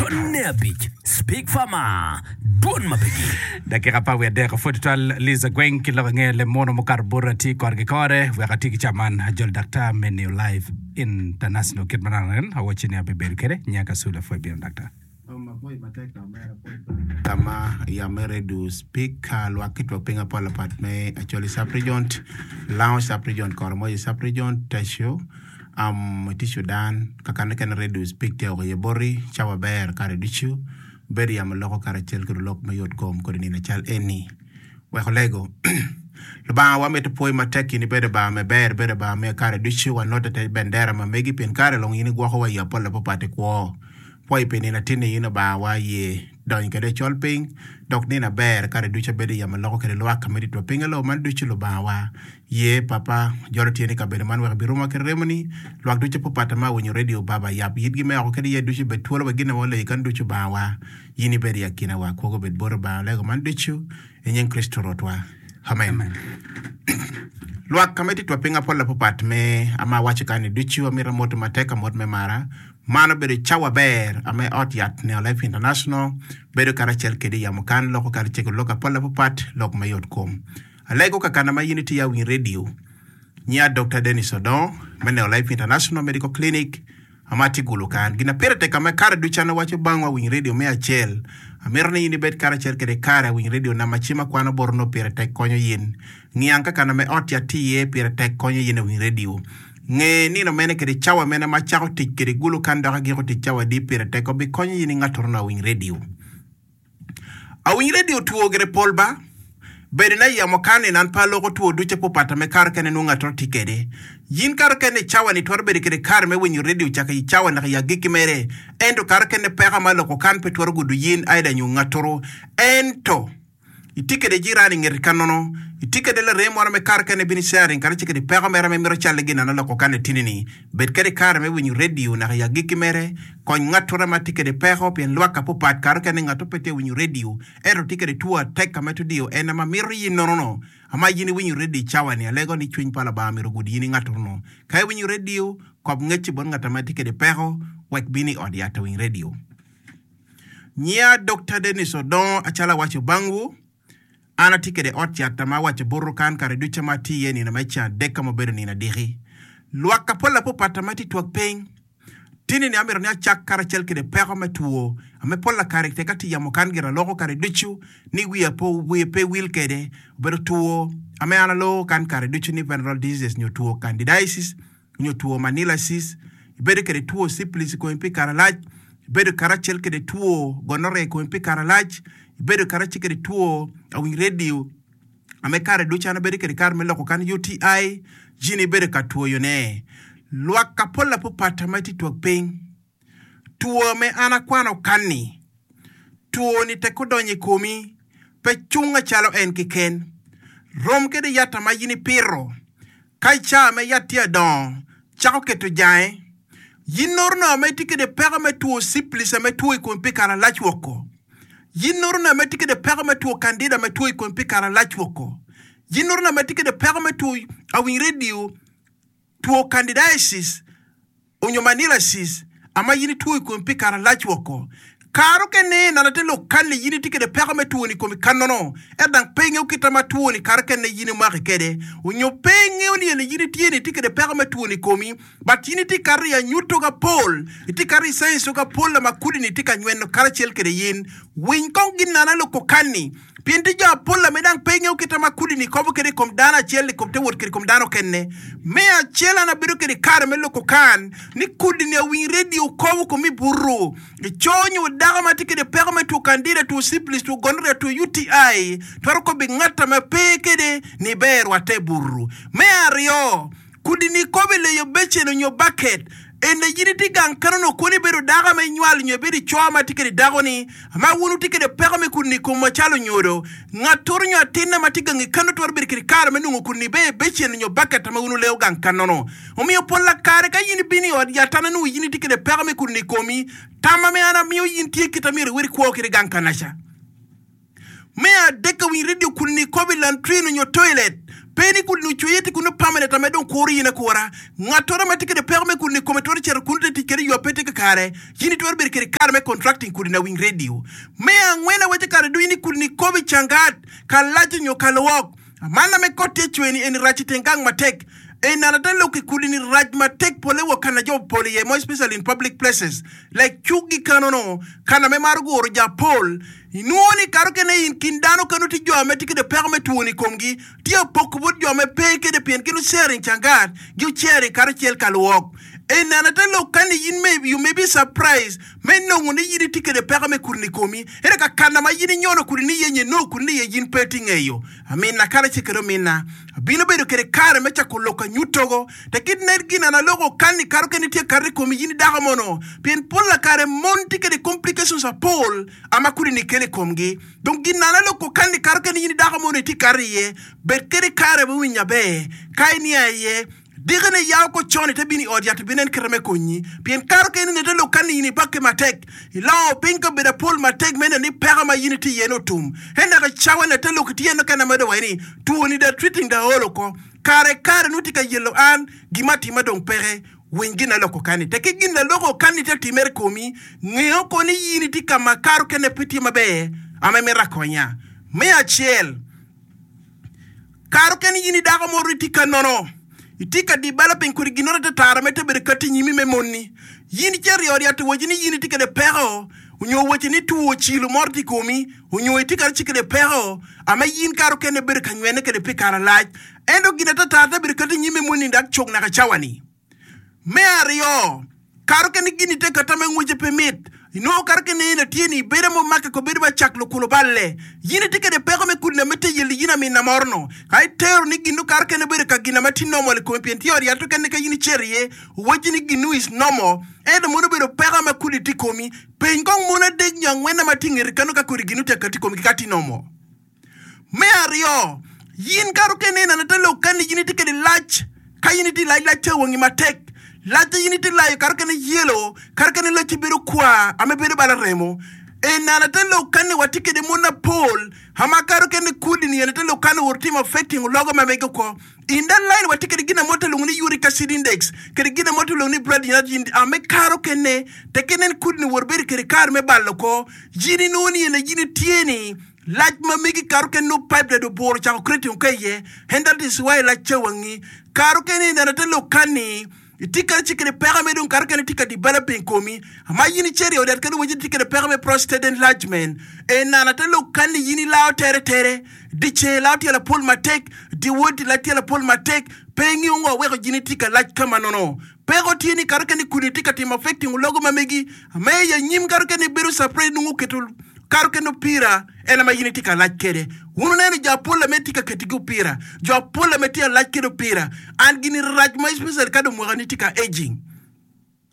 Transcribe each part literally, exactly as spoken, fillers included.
Dwonne abic, Speak Farmer, Dwon ma pe gik. Dakika apar wiye adek pwod tutwal Liza Gweng ki lok ange lemono mukato bota tye kore ki kore wek ati ki ca man ajol daktar me New Life International kit ma nano en awacci ni abibedo kwede nyaka Sula pwod bino daktar. Ka ma yam me redio speak lwak ki twak piny apol apat me Acholi Sub Region, Lango Sub Region, Koromoja Sub Region, Teso, um, itye Sudan, kakane kene redio speak tye woko iye boti, cawa ber kare ducu, bedo yamo loko karacel ki lulok me yot kom kodi nino cal eni. Wek olego. Lubanga wamito pwoyi matek in ibedo Lubanga me ber, ibedo Lubanga me kare ducu, wanote te bendera ma megi pien kare long in igwokowa i yo apol apapat i kwo. Pwoyi pi nino atinni in Lubanga wa ye donyo kwede i col piny, dok nino aber kare ducu abedo i yamo loko kwede lwak ka me ditwa piny alo man ducu Lubanga wa ye papa jolo tyeni i kabedo man wek ibirumwa ki remoni lwak ducu apapat ma awinyo radio baba yab yitgi me oko kede iye ducu bed twolo wek gin ma waleyo kan ducu Lubanga wa yin ibed i akina wa kwogo obed bot Lubanga olego man ducu i nying Kricito Rwotwa amen. Lwak ka me titwa piny apol apapat me ama awaco kani ducu amito amoto matek amot me mara Man obedo cawa ber ame ot yat Neo Life International bedo karacel kede i yamo kan loko karacel ki lok apol apapat lok me yot kom. Alego kakana ma yin itye ya winy radio nyiya Dokta Dennis Odongo me Neo Life International Medical Clinic ama tye gulu kan. Gina pire tek ame kare ducu an awaco bang wa winy radio me acel. Amito ni yin ibed karacel kede kare awiny radio na ma cim akwano bot onongo pire tek konyo yin. Ngiang kakana me ot yat tye iye pire tek konyo yin awiny radio. Nge nino mene kede cawa mene ma acako tic kede gulu kan dok agiko tic cawa adi pire tek obikonyo in ingatoro na awiny radio. Awiny radio two gire pol ba. Bedo na yamo kan ni nan pe aloko two ducu apopat ame kare kene nongo ngatoro tye kede. Yin kare kene i cawa ni twero bedo kede kare me winyo radio cake i cawa naka i agikki mere. Ento kare kene peko ma aloko kan pe twero gudo yin aida nyo ngatoro. Ento. Itye kede jirani i ngeti ka nono. Itye kede larem moro me kare kene bino sharing kare ci kede peko mere ma imito calle gin ano loko kane tini ni. Bed kede kare me winyo radio naka i agikki mere. Kony ngatore ma tye kede peko pien lwak ka popat kare kene ngato pe tye winyo radio ento tye kede two atek ka meto diyo en ama mito yin nono no ama yin iwinyo radio i cawa ni alego ni cwiny pa Lubanga myero ogud yin i ngatoro no. Ka iwinyo radio kob ngecci bot ngat ama tye kede peko wek bino i ot yat awiny radio. Nyiya Dokta Dennis Odongo acalo awaco bangwu, an atye kede ot cat ma awaco buto kan kare ducu ma atye iye nino me ceng adek ka ma obedo nino adiki. Lwak ka pol apopata ma tye twag piny. Tini ni amito ni acak karacel kede peko me two ame pola kare tek atye yamo kan gira aloko kare ducu ni wiya wiya pe wil kede obedo two ame an aloko kan kare ducu ni venereal diseases nyo two candidiasis nyo two manilasis, ibedo kwede two syphilis i komi pi kare alac, ibedo karacel kwede two gonorrhea i komi pi kare alac, ibedo karacel kwede two awiny radio ame kare ducu an abedo kwede kare me loko kan U T I jini ibedo ka twoyone. Lwak ka pol apopata ma itye twag piny, two me an akwano kanni, two ni tek odonyo i komi pe cung acalo en keken, rom kede yata ma in ipito. Ka i caa me yat tye adongo, cako keto jange. Yin noro no ma itye kede peko me two syphilis ame two i komi pi kare alac woko. Yin noro no ma itye kede peko me two candida ame two i komi pi kare alac woko. Yin noro no ma itye kede peko me two awiny radio, two candidiasis, onyo manilasis ama yin itwo i komi pi kare alac woko. Kare okene nana te lok kani yin itye kede peko me twoni i komi kanono, ento dang pe ingeyo kita ma twoni kare okene yin imaki kede, onyo pe ingeyo ni eni yin itye ni itye kede peko me twoni i komi, but yin itye kato i anyuto ga pol, itye kato i signs ga pol ma kudi ni tye ka nyweno karacel kede yin. Winy kong gin nana loko kani, pien tye jo apol ame dang pe ingeyo kita ma kudi ni kobo kede i kom dano acel i kom te wot kede i kom dano okene. Me acel an abedo kede kare me loko kan ni kudi ni awiny radio kobo kom i butu. Ico nyo dako ma tye kede peko me two candida, two syphilis, two gonorrhea, two U T I twero kobo i ngat ame pe kede ni ber rwatte i butu. Me aryo, kudi ni kobo i leyo becen onyo baket. Ene yin itye gang kano nongo koni ibedo dako ma inywalo nyo ibedo ico ma tye kede dako ni ma wun wutye kede peko me kudi ni i komwa calo onyodo. Ngat toro nyo atinna ma tye gang i kano twero bedo kede kare me nongo kudi ni be i becen nyo baket ma wun wuleo gang kanono. Omiyo pol kare ka yin ibino i ot yat an anongo yin itye kede peko me kudi ni i komi, tamma me an amiyo yin tye kit a myero iwed kwo kede gang kanaca. Me adek awiny radio kudini kobo i lantrin onyo toilet. Pe ni kudini ocweye tye kunu permanent ame dong kuro in akura. Ngattoro ma tye kede peko me kudini i kome twero cito kunu te tic kede ywa pe tye kakare. In itwero bedo kede kare me contracting kudini awiny radio. Me angwen awaco kare ducu ni kudini kobo i cangat, ka lac onyo ka lwok. Man ame kot tye cwer-ni eni rac i teng gang matek. Eni an ate lok i kudini rac matek pole wa kana jo pol iye more especially in public places like cuk gi kanono kana me maro guro ja pol. Inwongo ni kare okene in kin dano kano tye jo ame tye kede peko me twoni i komgi tye apoko bot jo ame pe kede pien gin sharing cangat gi sharing karacel ka lwok. Eni an ate lok kani in may you may be surprised me nongo ni in itye kede peko me kudini i komi ento ka kana ma in inyono kudini iye nyo inongo kudini iye in pe itye ngeyo. Amina karacel kede omina abino bedo kede kare me cako lok anyutogo te kit nen gin an aloko kani kare okene tye kato i komi in idako mono pien pol kare mon tye kede complications apol ama kudini kelo i komgi. Dong gin an aloko kani kare okene in idako mono itye kato iye bed kede kare me winyo aber ka inia iye dikene yao ko con ite bino i ot yat ibinen kite me konyi pien kare okene ni ite lok kani in ibakke matek ilongo piny kabedo apol matek me neno ni peko ma in itye iye ni otum en dok icawa ni ite lok itye nokene amedo waci ni twoni da treating da olo ko kare kare nongo tye ka yelo an gima atima dong peke winy gin aloko kani tek ki gin laloko kani te timere i komi ngeo ko ni in itye ka ma kare okene pe tye maber ame mito akonya. Me acel kare okene in idako moro itye ka nono itye ka developing kodi ginoro te tara me te bedo kati i nyimi me monni in icito i ot yat owaci ni in itye kede peko onyo owaci ni two cilo moro tye i komi onyo itye kadi kede peko ame in kare okene bedo ka nywene kede pi kare alac ento gin atatara te bedo kati i nyimi me monni dok cok naka cawani. Me aryo kare okene gini te kata me ngwece pe mit inongo kare okene in atye ni ibedo mo make ko bedo ba cak lukulo balle in itye kede peko me kudini ame te yeli in amina moro no ka itero ni ginu kare okene bedo ka gin ame tye normal i komi pien tye ot yat okene ka in icito iye owaci ni ginu is normal ento mono obedo peko ame kudi tye i komi peny kong mon adek nyo angwen ame tye i ngeti kano ka kodi ginu tye akati i komgi ka tye normal. Me aryo in kare okene ineno te lok kani in itye kede lac ka in itye lac lac tye wangi matek lac in itye layo kare okene yelo kare okene lacci bedo kwar ame bedo bala remo enana te lok kani watye kede mon apol ama kare okene kudini ene te lok kani owoto timo affecting ologo ma mege oko in that line watye kede gin amo te luongo ni uric acid index kede gin amo te luongo ni blood energy ame kare okene teke nen kudini owoto bedo kede kare me balo oko in inongo ni ene in itye ni lac ma megi kare okene no pipe da oburo ocako creating ka iye and that is why lac ca wangi kare okene ineno te lok kani itye kadi ci kede peko ame dong kare okene tye ka developing komi ama in icito i ot yat kadi waci tye kede peko me prostate enlargement enana te lok kani in ilao tere tere diceng ilao tyelo apol matek dyewor ilao tyelo apol matek pe ingeyo ngo weko in itye ka lac kama nono peko tye ni kare okene kudini tye ka timo affecting ologo ma megi ame i anyim kare okene ibedo surprise nongo oketo kare okene opira en ame in itye ka lac kede wun wuneno jo apol ame tye ka ketigi opira jo apol ame tye ka lac kede opira an gini rac ma especially ka dong mwakani tye ka aging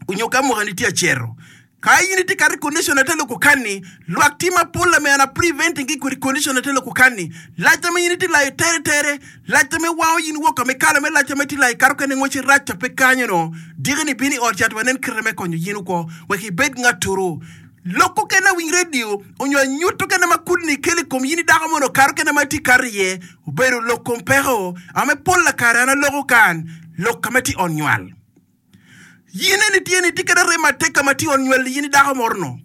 onyo ka mwakani tye acero ka in itye ka condition ate loko kani lwak tye mapol ame an a preventing ki kodi condition ate loko kani lac ame in itye layo tere tere lac ame wango in woko ame kala me lac ame tye layo kare okene ngwece rac ca pe kanyo no dikini bino i ot yat wanen kite me konyo in oko wek ibed ngatoro lok okene awiny radio onyo anyut okene ma kudini kelo i kom in idako mono kare okene ma itye kato iye obedo lok kom peko ame pol kare an aloko kan lok ame tye i ot nywal. In eni tye ni itye kede arem matek ka ma tye i ot nywal in idako moro no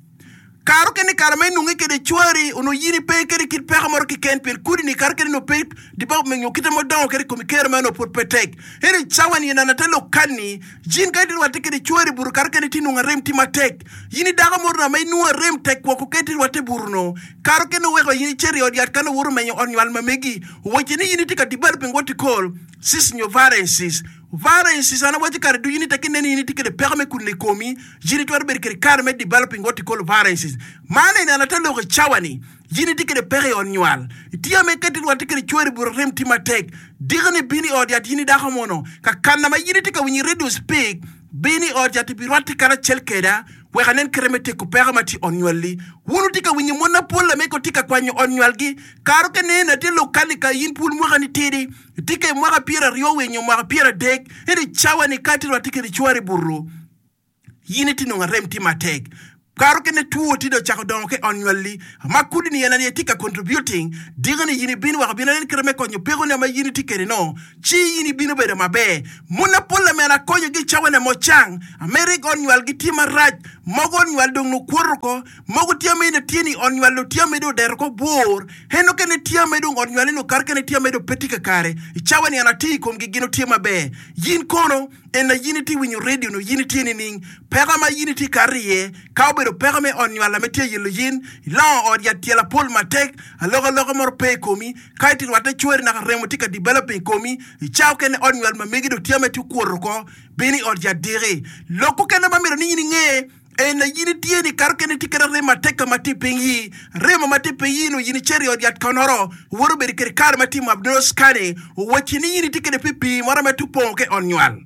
kare okene kare ma inonge kede cwari onongo in ipe kede kit peko moro keken pien kudini kare okene nongo pe development nyo kite ma odongo kede i komi kero mere onongo pud pe tek ento i cawa ni enana te lok kani in ka itye rwatte kede cwari i buto kare okene itye nongo arem tye matek in idako moro no ame inongo arem tek woko ka itye rwatte i buto no kare okene oweko in icito i ot yat kano owoto menyo ot nywal ma megi owaci ni in itye ka developing what you call cysts nyo varices varices an awaco kare ducu ni tek ineno in itye kede peko me kudini i komi in itwero bedo kede kare me developing what you call varices man eni an ate loko i cawa ni in itye kede peko i ot nywal itye ame ka itye rwatte kede cwari i buto arem tye matek dikini bino i ot yat in idako mono ka kana ma in itye ka winyo i radio speak bino i ot yat ibirwatte karacel keda wek anen kite me teko peko ma tye i ot nywalli wun wutye ka winyo mon apol ame ko tye ka kwanyo ot nywalgi kare okene eni atye lok kani ka in pud mwakani tidi itye ka i mwaka pyeraryo winyo mwaka pyeradek ento i cawa ni ka itye rwatte kede cwari i buto in itye nongo arem tye matek Karo kene two tye dong ocako dongo ki i ot nywalli, ma kudi-ni en aye tye ka contributing, diki-ni in ibino wek obin enen kite me konyo pekoni ma in itye kwede-no, ci in ibino bedo maber. Mon mapol ame an akonyogi i cawa-ni ame ocang, ame rik ot nywalgi tye marac, mogo ot nywal dong nongo kwoto oko, mogo tye ame in tye ni ot nywal dong tye ame dong odeto oko bor, en okene tye ame dong ot nywale nongo kare kene tye ame dong pe tye kakare. I cawa-ni an atye i komgi gin otye maber. In kono? En aye in itye winyo redio nyo in itye nining? Peko ma in itye kato iye, ka obedo peko me ot nywal ame tye yelo in, ilongo ot yat tyelo apol matek, alokaloka moro pe i komi, ka itye rwatte cweri naka remo tye ka developing i komi, i cawa okene ot nywal ma megi dong tye ame tye okwoto oko, bin i ot yat diki. Lok okene ma myero ni in inge, en aye in itye ni kare okene itye kede arem matek ka ma tye i piny yi, remo ma tye i piny yi-nu in icito i ot yat konoro, owoto obedo kede kare ma timo abdominal scanning, owacci ni in itye kede pii moro ma tye opongo ki i ot nywal.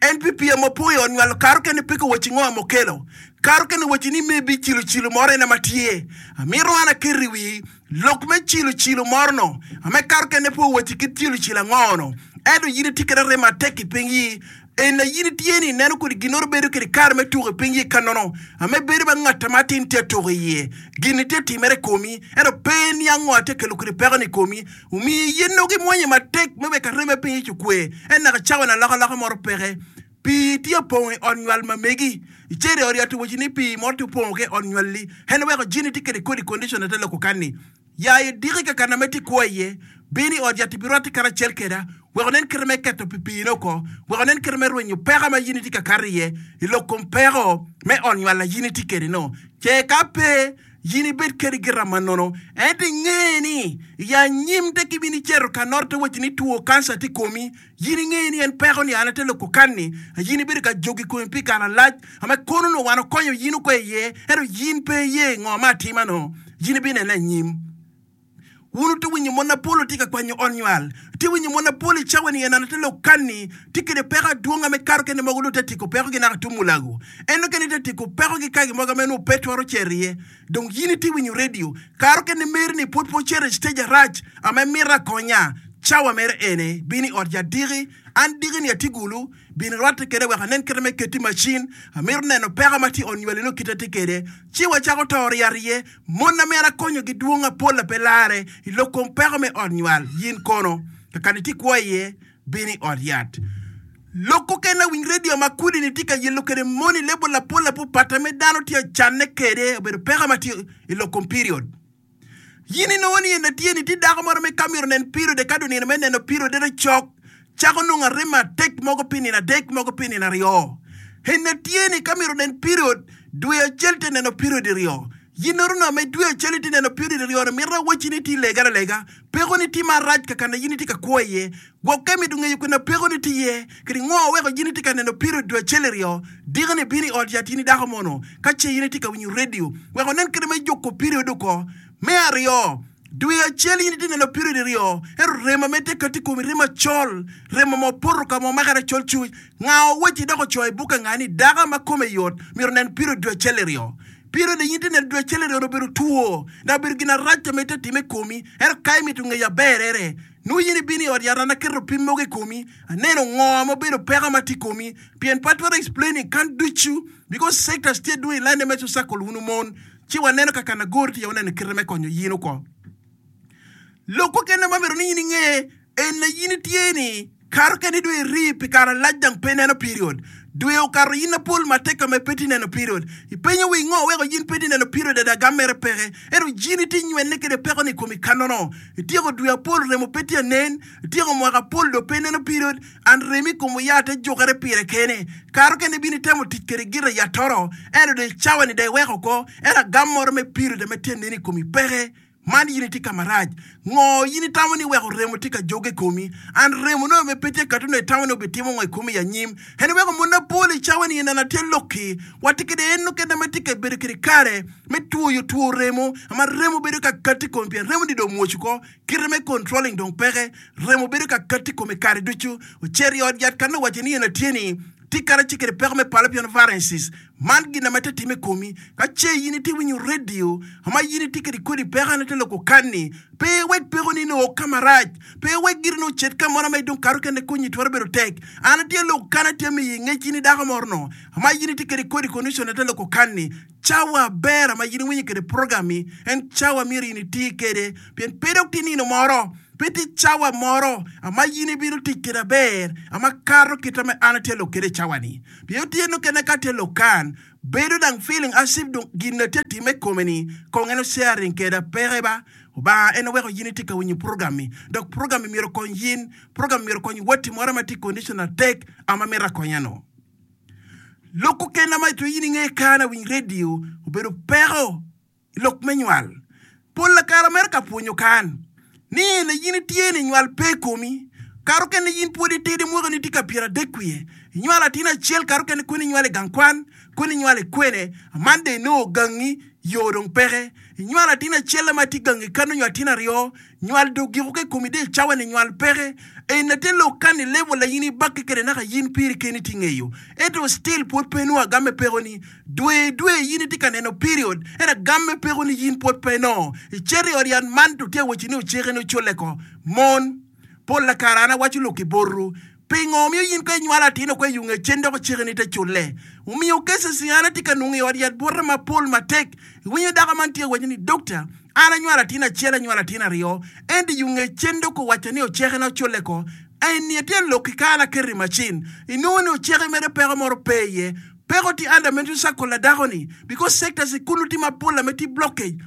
En pi pii ma opong i ot nywal kare okene pe ka wacci ngo ma okelo. Kare okene wacci ni maybe cilo cilo moro en ma tye. Amito an aket i wii lok me cilo cilo moro no ame kare okene pe owacci kit cilo cilo ango no. Ento in itye kede arem matek i piny yi. En aye in itye ni ineno kodi ginoro bedo kede kare me tuko i piny yi kanono ame bedo ba ngat ma atin tye atuko iye. Gin-ni tye timere i komi ento pe iniang ngo atye kelo kodi peko ni i komi. Omiyo yen nongo gimwonye matek me wek arem me piny ic okwe, en naka cawa ni alokaloka moro peke. Pii tye opongo i ot nywal ma megi. Icito i ot yat owaci ni pii moro tye opongo ki i ot nywalli. En oweko jini tye kede kodi condition ate loko kanni. Ya idiki kakana ma itye kwo iye, bin i ot yat ibirwatte karacel keda, wek onen kite me keto pi piine oko, wek onen kite me rwenyo peko ma in itye ka kato iye i lok kom peko me ot nywal a in itye kede no. Ce ka pe, in ibed kede gira ma nono. Ento inge ni i anyim te ki bin icito ka noto te wacci ni two kanca tye i komi, in inge ni en peko ni an ate loko kanni, in ibedo ka jogo i komi pi kare malac, ame kono onongo wan okonyo in oko iye, ento in pe iye ngo ma atima no, in ibinene anyim. Wun wutye winyo mon mapol otye ka kwanyo ot nywal. Wutye winyo mon mapol i cawa ni en ate lok kanni tye kede peko adwong ame kato kene mogo dong te tyeko peko gi naka tung mulago. En okene te tyeko peko gi kagi mogo ame nongo pe twero cito iye. Dong yin itye winyo radio karo kene meri ni pwod pe ocito i stage arac ame mito akonya. Cawa mere ene bin i ot yat diki. An diki ni atye gulu. Bin irwatte kede wek anen kite me keti macin. Amito neno peko ma tye i ot nywali nongo kite tye kede. Ci wacako toro yat iye. Mon ame an akonyogi dwong apol a pe larre i lok kom peko me ot nywal. Yin kono, kakana itye kwo iye, bin i ot yat. Lok okene awiny redio ma kudi-ni tye ka yelo kede mon i lebo lapol apupat ame dano tye acanne kede obedo peko ma tye i lok kom period. Yin inongo ni en atye ni tye dako moro me ka myero onen periode ka dong nino me neno periodere cok, cako nongo arem matek mogo pi nino adek mogo pi nino aryo. En atye ni ka myero onen period dwe acel tye neno period iryo. Yin nongo nongo me dwe acel itye neno period iryo ni mito awacci ni itye ilegere alega. Peko ni tye marac kakana yin itye ka kwo iye. Gwokke mito ngeyo kwena peko ni tye iye kadi ngo weko yin itye ka neno period dwe acel iryo. Diki ni bino i ot yat yin i dako mono ka ce yin itye ka winyo radio wek onen kite me juko period oko. Me aryo, dwe acel in itye neno period iryo ento remo ma tye kati i komi remo acol, remo ma opoto ka ma omakere acol cuc. Nga owacci dok ocoyo i bukke nga ni dako ma kome yot myero onen period dwe acel iryo. Period in itye neno dwe acel iryo obedo two dok obedo gin arac ma itye time i komi ento ka imito ngeyo aberere nongo in ibino i ot yat an aketo pim mogo i komi aneno ngo ma obedo peko ma tye i komi pien pe atwero explaining kan ducu because sectors tye dwong i line me circle wunu mon ci waneno ka kanagor tye waneno kite me konyo yin oko. Lok okene ma myero ni in inge en na yin itye ni kare okene dong iri pi kare alac dang pe ineno period. Dwe okato yin apol matek ka ma pe tye neno period. Ipenyo wi ngo weko yin pe tye neno period ada gam mere peke. Ento yin itye nywene kede peko ni komi kanono. Ityeko dwe apol remo pe tye anen. Ityeko mwaka apol dong pe ineno period. And remo i kom oya te jukere pire kene. Kare okene ibino itemo tic kede gita yatoro ento dong i cawa ni dong iweko oko. Ento agam moro me period ame tye anen i komi peke. Man in itye ka marac. Ngo in itamo ni weko remo tye ka joge i komi? And remo nongo bene pe tye ka nongo itamo ni obitimo ngo i komi i anyim. En weko mon mapol i cawa ni ineno atye lokki. Watye kede en nukene ma tye ka bedo kede kare me twoyo two remo ma remo bedo ka kati i komi pien remo ni dong omwoc oko. Kite me controlling dong peke. Remo bedo ka kati i komi kare ducu. Ocito i ot yat ka nongo owaco ni en atye ni Tye kadi atye kwede peko me fallopian varices. Man gin ma te time i komi. Ka ce in itye winyo radio ma in itye kwede kodi peko ene te loko kanni, pe iwek pekoni ni o ka marac. Pe iwek giri ni ocit ka moro ma idong kato kene konyi twero bedo tek. An atye lok kan atye miyi ngec in i dako moro no ma in itye kwede kodi condition te loko kanni. Cawa aber ma in iwinyo kwede program-mi en cawa myero in iti kwede pien pe dok tye nino moro. Pe tye cawa moro ma in ibino tic kwede aber ma kato kite ma an atye lok kwede i cawa-ni. Pien tye nukene ka atye lok kan, bedo dang feeling as if dong gin na tye time i kome-ni kong en sharing kweda peke ba. Lubanga en oweko in itye ka winyo program-mi, dok program-mi myero okony in, program myero okony watti moro ma tye i condition matek ma mito akonya-nu. Lok okene ma itwero in inge kan awiny radio obedo peko i lok me nywal. Pol kare mere ka pwonyo kan ni ene in itye ni nywal pe i komi. Kare okene in pwod itidi mwakani tye ka pyeradek wiye. Inywalo atin acel kare okene kweni inywalo i gang kwan, kweni inywalo i kwene, man dong inongo gangi yo dong peke. Inywalo atin acel ma tye gangi kano nyo atin aryo, nywal dong ogiko ki i komi dong i cawa ni nywal peke. Eni te lok kan i level a in ibakke kwede naka in piri keni tye ngeyo. Ento still pwod pe inongo agam me pekoni. Dwe dwe in itye ka neno period, ento agam me pekoni in pwod pe inongo. Icito i ot yat man to tye awaci ni oceke ni oculle ko. Mon, pol kare an awaco lok ki botwu. Pingo omiyo in ka inywalo atin oko i yunge cen dok oceke ni te culle? Omiyo cases an atye ka nongo i ot yat bota mapol matek. Iwinyo dako man tye awaco ni doctor, an anywalo atin acel anywalo atin aryo, ento i yunge cen dok owaco ni oceke na oculle ko. Eni atye lok ki kare aketo i macin. Inongo ni oceke mere peko moro pe iye. Peko tye under menstrual cycle la dako ni because sectors i kunu tye mapol ame tye blockage.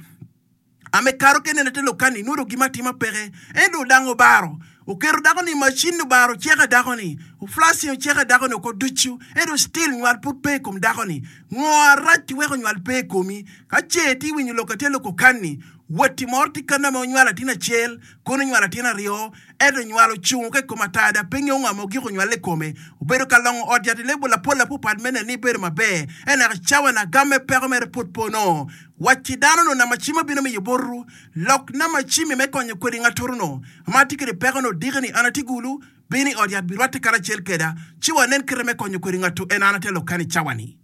Ame karo kene ne te lokani inwodo gima atima peke. Ento odango obaro. Oketo dako ni i macin obaro oceke dako ni. Oflashing oceke dako ni oko ducu. Ento still nywal pud pe i kom dako ni. Ngo arac ti weko nywal pe i komi? Ka ce ti winyo lok atye loko kanni, watti moro ti kano ame onywalo atin acel, kono onywalo atin aryo, ento nywal ocungo ka i kom atada pe ngeyo ngo ma ogiko nywale i kome. Obedo ka longo ot yat i lebol lapol lapupat me neno ni bedo maber. Ento naka cawa na agamme peko mere pud pe onongo. Wacci dano no nama cim abino miyo botwu, lok nama cimmi me konyo kwede ngatoro no ma atye kwede peko no odiki ni an atye gulu, bino i ot yat birwatte karacel keda, ci wanen kite me konyo kwede ngatu en an atye lok kani cawa ni.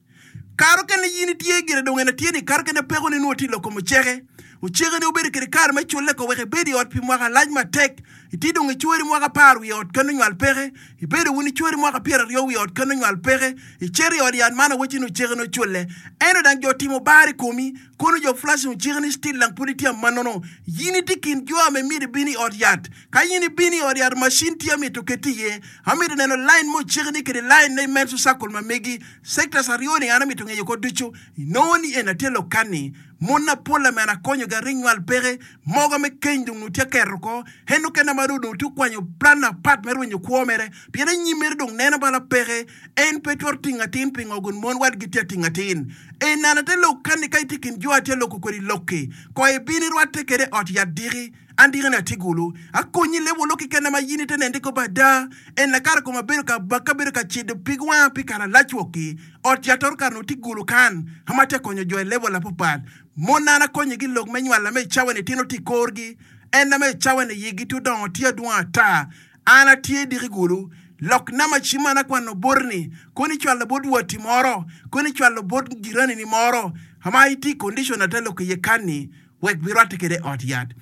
Kare okene in itye gire dong en atye ni kare okene peko ni nwo tye lok kom oceke. Oceke ni obedo kede kare me culle ko wek ibed i ot pi mwaka lac matek. Itye dong icweri mwaka apar wiye ot keno nywal peke. Ibedo wun icweri mwaka pyeraryo wiye ot keno nywal peke. Icito i ot yat man awacci ni oceke ni oculle. Ento dang jo otimo bar i komi, kono jo flashing oceke ni still dang pud itye amanono. Yin itye kin jo ame myero ibin i ot yat. Ka yin ibino i ot yat machine tye amito keti iye. Amito neno line me oceke ni kede line ne menstrual cycle ma megi. Sectors aryo ni an amito ngeyo ko ducu. Inongo ni en atye lokani. Mon apol ame an akonyogi aring nywal peke. Mogo me keny dong nongo tye aketo ko. En okene ma dong onongo tye okwanyo plan apat me rwenyo kwo mere. Pien anyim mere dong neno bala peke. En pe twero tingo atin pingo gun mon wadgi tye atingo atin. En an ate lok kani ka itye kin jo atye loko kwedi lokki. Ko ibin irwatte kede ot yat diki. An diki ni atye gulu. Akonyi lebo lok kekena ma yin ite nende kop ada. En lakara koma abedo ka baka abedo ka cido pig wanga pi kare alac wokki. Ot yat oro kare onongo tye gulu kan ama atye konyo jo i level apapat. Mon an akonyo gi lok me nywal ame i cawa ni tino tye i korgi. En ame i cawa ni yigi tye odongo tye adwong ata. An atye diki gulu. Lok nama cim an akwano boti ni kono icwalo bot watti moro, kono icwalo bot jirani ni moro ama itye i condition ate lok iye kan ni wek birwatte kede i ot yat.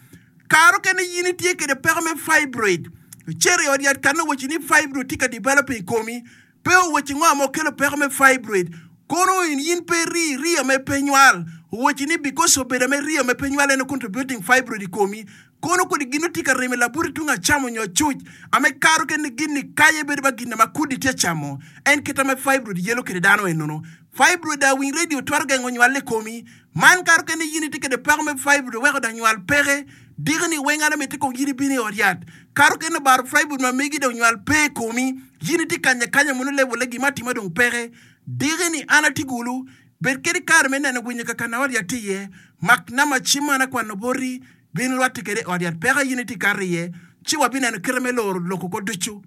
Kare okene in itye kede peko me fibroid. Icito i ot yat ka nongo owacci ni fibroid tye ka developing i komi. Pe owacci ngo ma okelo peko me fibroid. Kono in in pe rii riya me pe nywal. Owacci ni because obedo ame riya me pe nywal en contributing fibroid i komi. Kono kodi gin tye ka remo i labuti tung acam onyo acuc ame kare okene gin ni kaye bedo ba gin ma kudi tye camo. En kite ame fibroid yelo kede dano enono. Fibroid a winy radio twero gengo nywal i komi. Man kare okene in itye kede peko me fibroid weko dang nywal peke. Diki ni weng an amiti kong in ibino i ot yat. Kare okene obaro fibroid ma megi dong nywal pe i komi. In itye kanya kanya mono level-le gima atima dong peke. Diki ni an atye gulu. Bed kede kare me neno winyo kakana ot yat tye iye. Mak nama cim man akwano boti. Bin rwatte kede i ot yat peko in itye kato iye. Ci wabineno kite me loro loko ko ducu.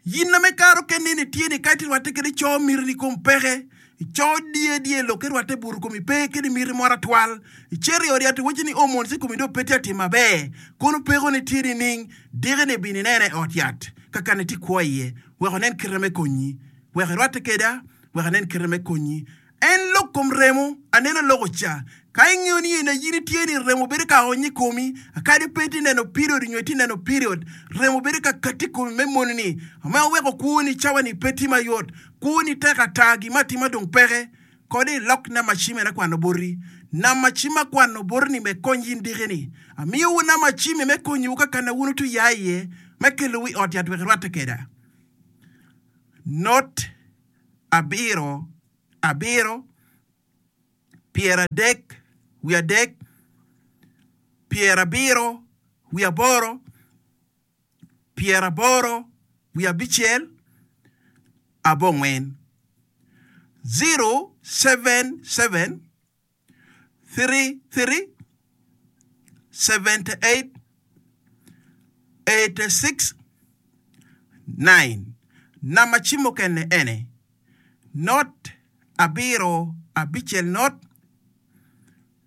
Yin ame kare okene ni tye ni ka itye rwatte kede co miti ni kom peke, ico diye diye lok ki rwatte buto komi pe kede miti moro atwal. Icito i ot yat iwaci ni hormones i komi dong pe tye atim maber. Kono peko ni tye nining? Diki ni bin inene i ot yat kakane tye kwo iye wek onen kite me konyi. Wek irwatte keda, wek anen kite me konyi. En lok kom remo, aneno loko ca. Ka ingeyo ni ena in itye ni remo bedo ka ony i komi, kadi pe itye neno period nyo itye neno period, remo bedo ka katti i komi me moni-ni, ma weko kwoni cawa-ni pe tye mayot. Kwoni tek ata, gin me atima dong peke. Kodi ilok namba cim en akwano boti. Namba cim akwano boti-ni me kony in diki-ni. Amiyowu namba cim-mi me konyowu ka kana wun wutye ya iye, me kelowu i ot yat wek irwatte keda. Not abiro abiro pyeradek wiye adek pyerabiro wiye aboro pyeraboro wiye abicel abongwen zero seven seven three three seventy eight eighty six nine Namba cim mukene ene, not abiro abicel not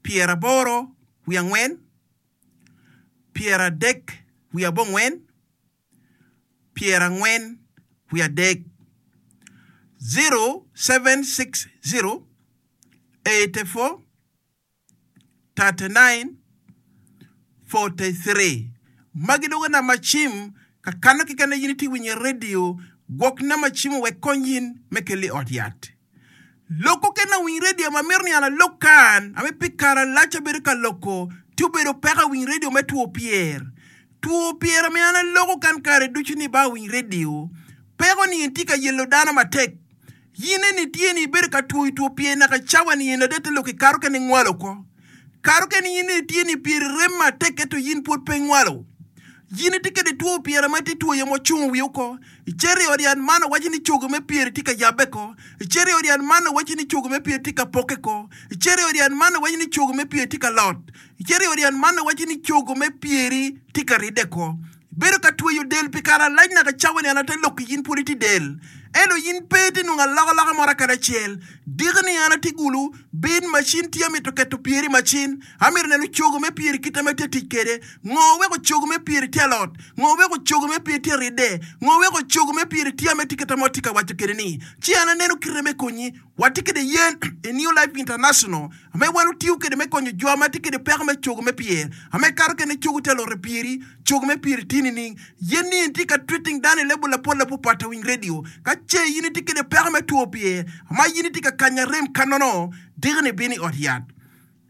pyeraboro wiye angwen pyeradek wiye abongwen pyerangwen wiye adek zero seven six zero eighty four thirty nine forty three Magi dong namba cim ka kano keken in itye winyo i redio, gwok namba cim wek kony in me kelo i ot yat. Loko kene awiny redio ma mito ni an alok kan ame pi kare alac abedo ka loko tye obedo peko awiny redio me two pyer. Two pyer ame an aloko kan kare ducu ni ba awiny redio peko ni en tye ka yelo dano matek. In eni tye ni ibedo ka twoyo two pyer naka cawa ni eni adada te lok ikato kene ingwalo oko. Kato kene in eni tye ni pyeri rem matek ento in pwod pe ingwalo. In itye kede two pyere ma itye twoyo ma ocungo wiye oko. Icito i ot yat man owaci ni cogo me pyeri tye ka yabbe ko. Icito i ot yat man owaci ni cogo me pyeri tye ka pokke ko. Icito i ot yat man owaci ni cogo me pyeri tye ka lot. Icito i ot yat man owaci ni cogo me pyeri tye ka ridde ko. Bedo ka tweyo del pi kare alac naka cawa ni an ate lok ki in pwod itye del. Ento in pe itye nongo alokaloka mo kadi acel. Diki ni an atye gulu, bin macin tye amito keto pyeri i macin. Amito neno cogo me pyeri kite ma itye tic kwede. Ngo weko cogo me pyeri tye alot? Ngo weko cogo me pyeri tye ridde? Ngo weko cogo me pyeri tye ame tye kite ma watye ka waco kwede ni? Ci an aneno kite me konyi. Watye kwede yen i New Life International ame wan otiyo kwede me konyo jo ma tye kwede peko me cogo me pyer. Ame kato kene cogo tye alot i pyeri, cogo me pyeri tye nining? Yen ni en tye ka treating dano i level lapol lapapat awiny radio. Ka ce in itye kwede peko me two pyer ma in itye ka kanyo arem kanono, diki ni bino i ot yat.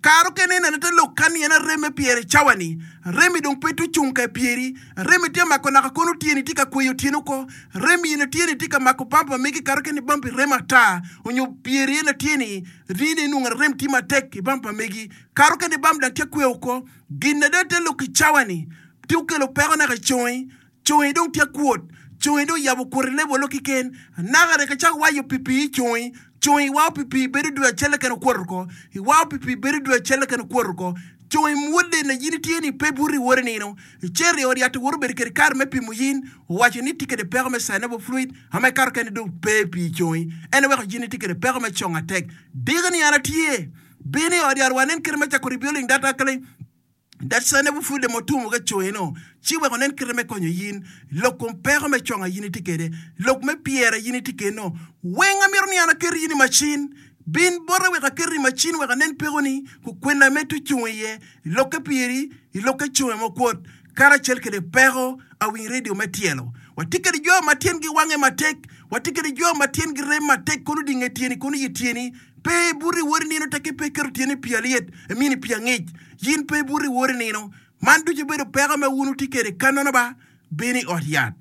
Kare okene ineno te lok kan ni en arem me pyeri i cawa ni. Arem-mi dong pe tye ocung ka i pyeri. Arem-mi tye mako naka kono tyeni tye ka kweyo tyeni oko. Arem-mi eno tyeni tye ka mako bamp ma megi kare okene bampi rem ata onyo pyeri eno tyeni rini inwongo arem tye matek i bamp ma megi. Kare okene bamp dang tye kweyo oko. Gin ada te lok i cawa ni tye okelo peko naka i congi. Congi dong tye kwot. Congi dong oyabo kwot i lebo lok kiken. Anaka rek acako wayo pi pii i congi. Congi iwao pi pii bedo dwe acel keken okwot oko. Iwao pi pii bedo dwe acel keken okwot oko. Congi mwodde na in itye ni pe buto iwot inino. Icito i ot yat iwoto bedo kede kare me pimo yin. Owaco ni itye kede peko me synovial fluid ama ikato kene dong pe pii i congi. En oweko yin itye kede peko me cong atek. Diki ni an atye. Bin i ot yat wanen kite me cako rebuilding that alkaline. Dacane bupwodde ma otumo ka coyeno, ci wek onen kite me konyo yin. Lok kom peko me conga yin itye kede, lok me pyera yin itye keno. Weng amito ni an aket yin i macin. Bin bota wek aket i macin wek anen pekoni, kukwena me tucung iye, i lokke pyeri, i lokke conge ma okwot, karacel kede peko awiny redio me tyelo. Watye kede jo ma tyengi wange matek, watye kede jo ma tyengi rem matek kono dinge tyeni kono yi tyeni. Pe ibuto iwot inino tekke pe iketo tyeni i pii alyet, imini pii angic. Yin pe ibuto iwot inino. Man ducu obedo peko ma wun wutye kwede ka nono ba, bino i ot yat.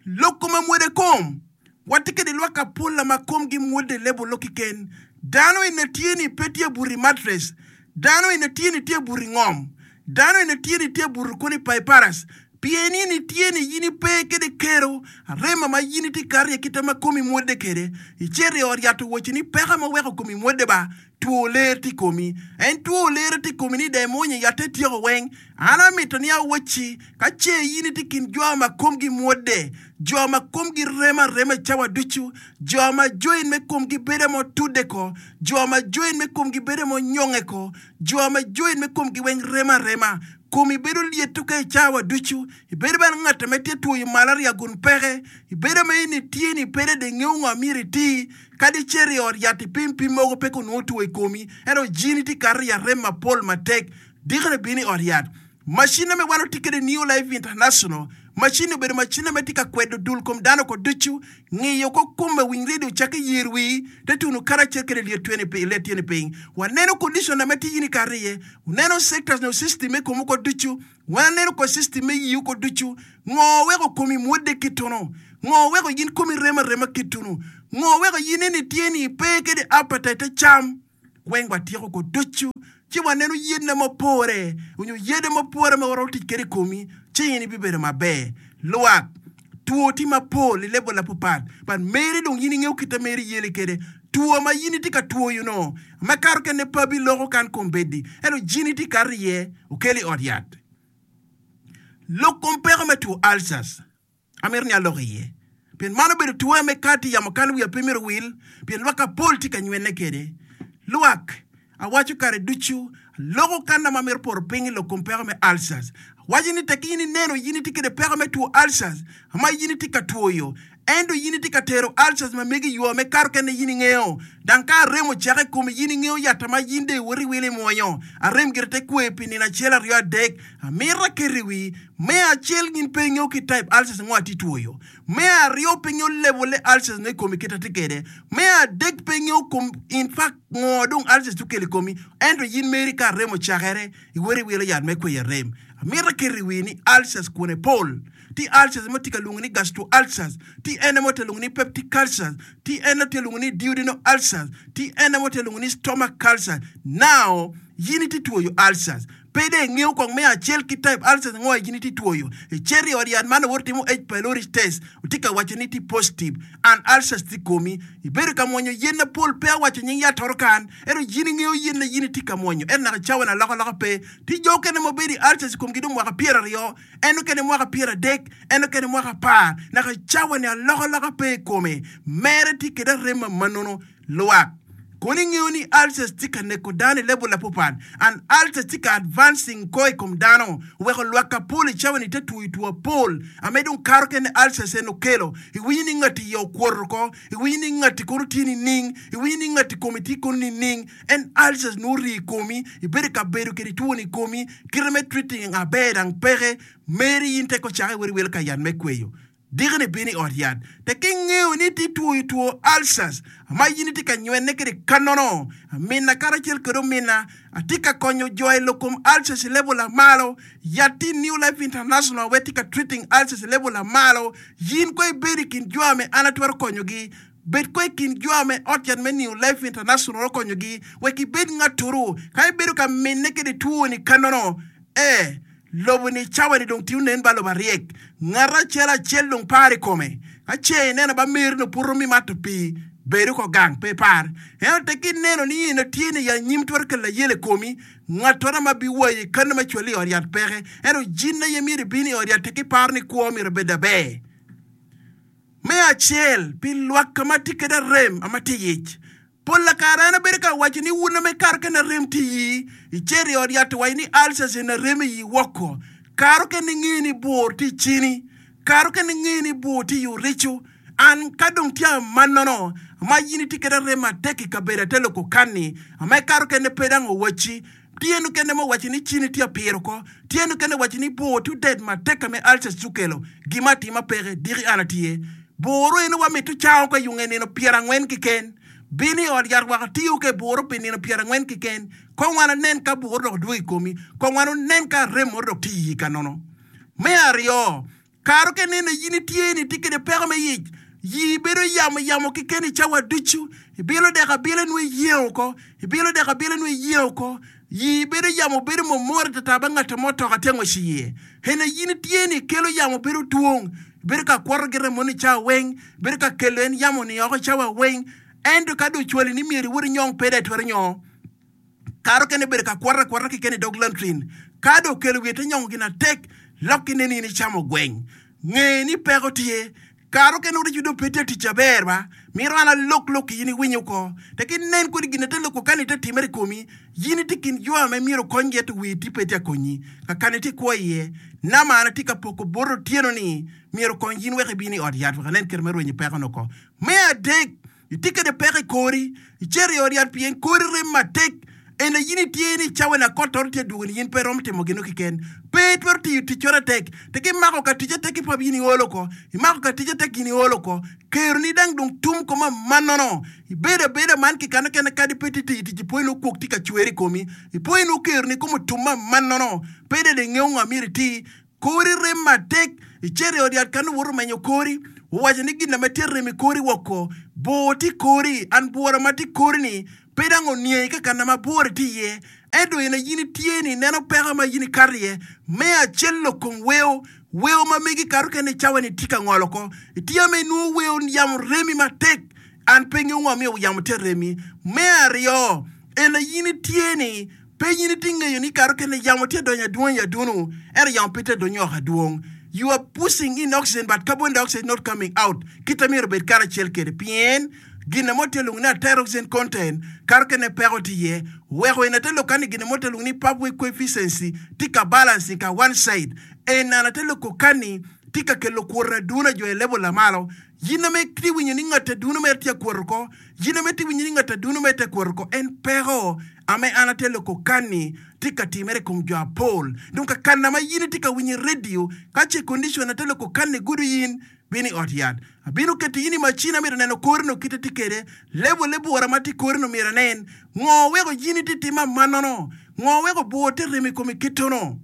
Lok kom amwoda kom. Watye kwede lwak apola ma komgi mwodde lebo lok keken. Dano ene tye ni pe tye abuto i matres. Dano ene tye ni tye abuto i ngom. Dano ene tye ni tye abuto kono i paiparas. Pien in itye ni in ipe kede kero arema ma in itye kato iye kite ma komi mwodde kede. Icito i ot yat owaci ni peko ma weko komi mwodde ba Two ler tye i komi. En two ler tye i komi ni dong imwonyo yatte ityeko weng. An amito ni awacci, ka ce in itye i kin jo ma komgi mwodde, jo ma komgi remo arema i cawa ducu, jo ma join me komgi bedo ma otudde ko, jo ma join me komgi bedo ma onyonge ko, jo ma join me komgi weng remo arema, komi bedo lyetto ka i cawa ducu, ibedo bene ngat ma tye twoyo malaria gun peke, ibedo ma in itye ni pe dong ingeyo ngo myero iti, kadi icito i ot yat ipim pim mogo pe onongo two i komi, ento jini tye kato i arem mapol matek, dikone bino i ot yat. Macin me wan watye kwede New Life International, macin obedo macin ma tye ka kwedo dul kom dano ko ducu, ngiyo ko kome winy redio cakke yer wii, te tuno karacel kede lyet tyene pi let tyene piny. Waneno condition ma tye in ikato iye, waneno sectors nyo system me komu ko ducu, waneno ko system me yiwu ko ducu, ngo weko komi mwodde kituno, ngo weko in komi remo arema kituno, ngo weko in eni tye ni pe kede appetite cam, weng watyeko ko ducu, ci waneno yedna mapore, onyo yede mapore ma waromo tic kede i komi, ci in ibibedo maber. Lwak, two tye mapol i level apapat, but mere dong in ingeyo kite mere yele kede, two ma in itye ka twoyo no, ma kato kene pe abiloko kan kombeddi, ento jini tye kato iye, okelo i ot yat. Lok kom peko me two ulcers, amito ni alok iye. Pien man obedo two me kati yamo kan wiya pe myero wil, pien lwak apol tye ka nywene kede. Lwak, awaco kare ducu, aloko kan ma amito poto piny i lok kom peko me ulcers. Awaco ni tek in ineno in itye kede peko me two ulcers, ma in itye ka twoyo, ento in itye ka tero ulcers ma megi yo me kato kene in ingeyo. Dang ka arem ocake i komi in ingeyo yatta ma in dong iwoto iwilo imwonyo, arem gire te kwe pi nino acel aryo adek, amito aketo i wi, me acel in pe ingeyo ki type ulcers ngo atye twoyo, me aryo pe ingeyo level le ulcers no i komi kit atye kede, me adek pe ingeyo kom in fact ngo dong ulcers okelo i komi, ento in meri ka arem ocakere iwoto iwilo yat me kweyo arem. Amito aketo i wi ni ulcers kwone pol. Ti ulcers mo tye ka lwongo ni gastro ulcers, ti ene mo tye lwongo ni peptic ulcers, ti ene tye lwongo ni duodenal ulcers, ti ene mo tye lwongo ni stomach ulcers. Now, in itye twoyo ulcers. Pe dong ingeyo kong me acel ki type ulcers ngo in itye twoyo. Icito i ot yat man owoto timo H. pylori test, otye ka waco ni tye positive, and ulcers tye i komi. Ibedo ka mwonyo yen mapol, pe awaco nying yat toro kan, ento in ingeyo yen na in itye ka mwonyo. Ento naka cawa na alokaloka pe. Tye jo okene ma obedo i ulcers i komgi dong mwaka pyeraryo, en okene mwaka pyeradek, en okene mwaka apar, naka cawa ni alokaloka pe i kome. Mere tye kede arem ma manono lwak. Kono ingeyo ni ulcers tye ka neko dano i level apapat, and ulcers tye ka advancing ko i kom dano, oweko lwak apol i cawa ni te twoyo two apol, ame dong kato kene ulcers en okelo. Iwinyo ni ngati iye okwoto ko, iwinyo ni ngati kono tye nining, iwinyo ni ngati kome tye kono nining, en ulcers nongo ori i komi, ibedo ka bedo kede two ni i komi, kite me treating aber dang peke, meri in teko cake iwero iwelo ka yat me kweyo. Dikoni bino i ot yat, tek ingeyo ni itye twoyo two ulcers, ma in itye ka nywene kede kanono, amina karacel kede omina, atye ka konyo jo i lok kom ulcers i level amalo, yat tye New Life International we tye ka treating ulcers i level amalo, in ko ibedo i kin jo ame an atwero konyogi, bed ko i kin jo ame ot yat me New Life International okonyogi, wek ibed ngaturu, ka ibedo ka mine kede two ni kanono, eh, lobo ni cawa ni dong tiyo nen ba lobo aryek, ngat acel acel dong par i kome, ka ce ineno ba meri no puto mi mato pii, bedo ko gang pe par. Ento tek ineno ni in tye ni ya nyim twero kelo ayel i komi, ngatoro ma biwayi kano ma cwali i ot yat peke, ento jin aye myero ibin i ot yat tek iparo ni kwo myero obed aber. Me acel, pi lwak ka ma tye kede arem ama tye ic. Pol kare en obedo ka waco ni wun ame karo kene arem tye iyi, icito i ot yat owaco ni ulcers en arem iyi woko. Karo kene ingeyo ni bur tye i cini, karo kene ingeyo ni bur tye i orico. An ka dong tye amanono, ama in itye kede arem matek i kabedo ate loko kanni, ama ikato kene pe dang owacci, tye nukene mo owaco ni cini tye apiro ko, tye nukene owaco ni bur tye odet matek ame ulcers tye okelo, gima atima peke, diki an atye. Buru eno wa mito cango ka yunge nino pyerangwen keken. Bino i ot yat wako tiyo ke buru pi nino pyerangwen keken. Kong wan onen ka buru dok dwogo i komi, kong wan onen ka arem moro dok tye iyi ka nono. Me aryo, karo ke neno in itye ni itye kede peko me yic, yi bedo yamo yamo keken i cawa ducu, ibilo dek abila nwo iyengo ko, ibilo dek abila nwo iyengo ko, yi bedo yamo bedo momoro tata ba ngat mo toka tye ngwec iye. Ene in itye ni kelo yamo bedo twong, bedo ka kwoto gire mono i cawa weng, bedo ka kelo en yamo ni oko i cawa weng, ento ka dong ocwali ni myero iwot inyong pede itwero nyongo. Kare okene bedo ka kwoto akwota keken i dog latrin. Ka dong okelo wiye te nyongo gin atek, lokki nen in icamo gweng. Nge ni peko tye. Kare okene orico dong pe tye tic aber ba. Mito an alok lok ki in iwinyo ko. Tek inen kodi gin ate loko kani te timere i komi, yin itye kin jo ame myero okonygi ento wii tye pe tye akonyi. Kakani itye kwo iye. Nama an atye ka poko bot otyeno ni myero okony yin wek ibin i ot yat wek anen kite me rwenyo peko-ni oko. Me adek, Itye kwede peko i kori, icito i ot yat pien kori rem matek. Ento in itye ni cawa ni akotoro tye adwogo ni in pe iromo timo gino keken. Pe itwero tiyo tic coro atek. Tek imako ka tic atek ki pap in iolo oko. Imako ka tic atek in iolo oko. Kero ni dang dong tum ko ma manono. Ibedo abeda man ki kano kene kadi pe tye tiyo tic ipwoyo nongo kwok tye ka cwer i komi. Ipwoyo nongo kero ni kome otum ma manono. Pe dong ingeyo ngo myero iti. Kori rem matek, icito i ot yat ka nongo woto menyo kori, owaco ni gin ma tye rem i kori woko, bor tye i kori, an bwora ma tye i kori-ni pe dang oniangi ka kana ma bwora tye iye, ento in aye in itye ni ineno peko ma in ikato iye. Me acel lok kom weo, weo ma megi kato kene i cawa-ni tye ka ngolo oko. Itye ma inwongo weo yamo remi matek, an pe ngeyo ngo miyo yamo tye remi. Me aryo, en aye in itye ni Pe in itye ngeyo ni kare okene yamo tye donyo adwong i adunu, ento yamo pe tye donyo oko adwong. You are pushing in oxygen but carbon dioxide is not coming out. Kite myero obed karacel kede pien gin mo tye lwongo ni arterial oxygen content kare okene peko tye iye. Weko en ate lok ni gin mo tye lwongo ni pathway coefficiency tye ka balancing ka one side. En an ate loko kani tye ka kelo kwoto adunu jo i level lamalo. Yin ame itye winyo ni ngat adunu mere tye akwoto oko, yin ame itye winyo ni ngat adunu mere tye akwoto oko, en peko ame an atye loko kanni tye ka timere i kom jo apol. Dong ka kana ma yin itye ka winyo i radio, ka ce condition ate loko kanni gudo yin, bin i ot yat. Abino keto yin i macin amito neno kori no kite tye kede, level le bwura ma tye i kori no myero anen. Ngo weko yin itye timo amanono? Ngo weko bwur tye remo i komi kitono?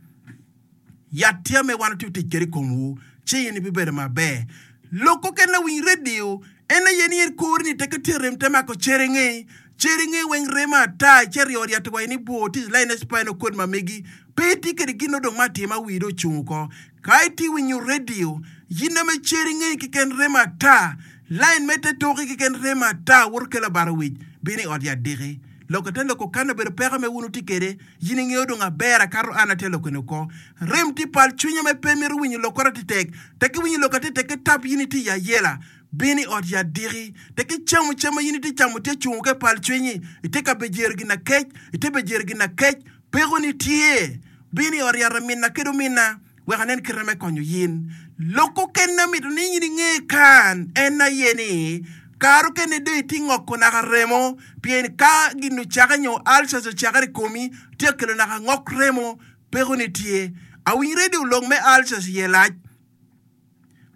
Yat tye ame wan watye tic kwede i komwu, ci in ibibedo maber. Lok kokene lawiny redio, en aye ni en kori ni teke tye rem te mako cere inge, cere inge weng remo ata, icito i ot yat wa in ibwor tye i line spinal cord ma megi, pe itye kede gin odong me atima wii dong ocung oko. Ka itye winyo redio, yin ame cere inge keken remo ata, line me te toki keken remo ata woto kelo abaro wic, bino i ot yat diki. Lok ate loko kan obedo peko me wun wutye kwede, yin ingeyo dong aber akato an atye lokoni oko. Rem tye pal cwinya me pe mito winyo lok kore atetek, tek iwinyo lok atetek ki tap yin itye i ayela. Bin i ot yat diki, tek icamo cam ma yin itye camo tye cungo ke pal cwinyi, itye ka bejero gin akec, itye bejero gin akec, pekoni tye. Bin i ot yat aminna kede ominna. Wek anen kite me konyo yin. Lok okene amito ni in inge kan en aye ni, kare okene dong itye ngoko naka remo, pien ka gin ocake nyo ulcers ocakere i komi, tye ka kelo naka ngok remo, pekoni tye. Awiny redio lok me ulcers iye lac,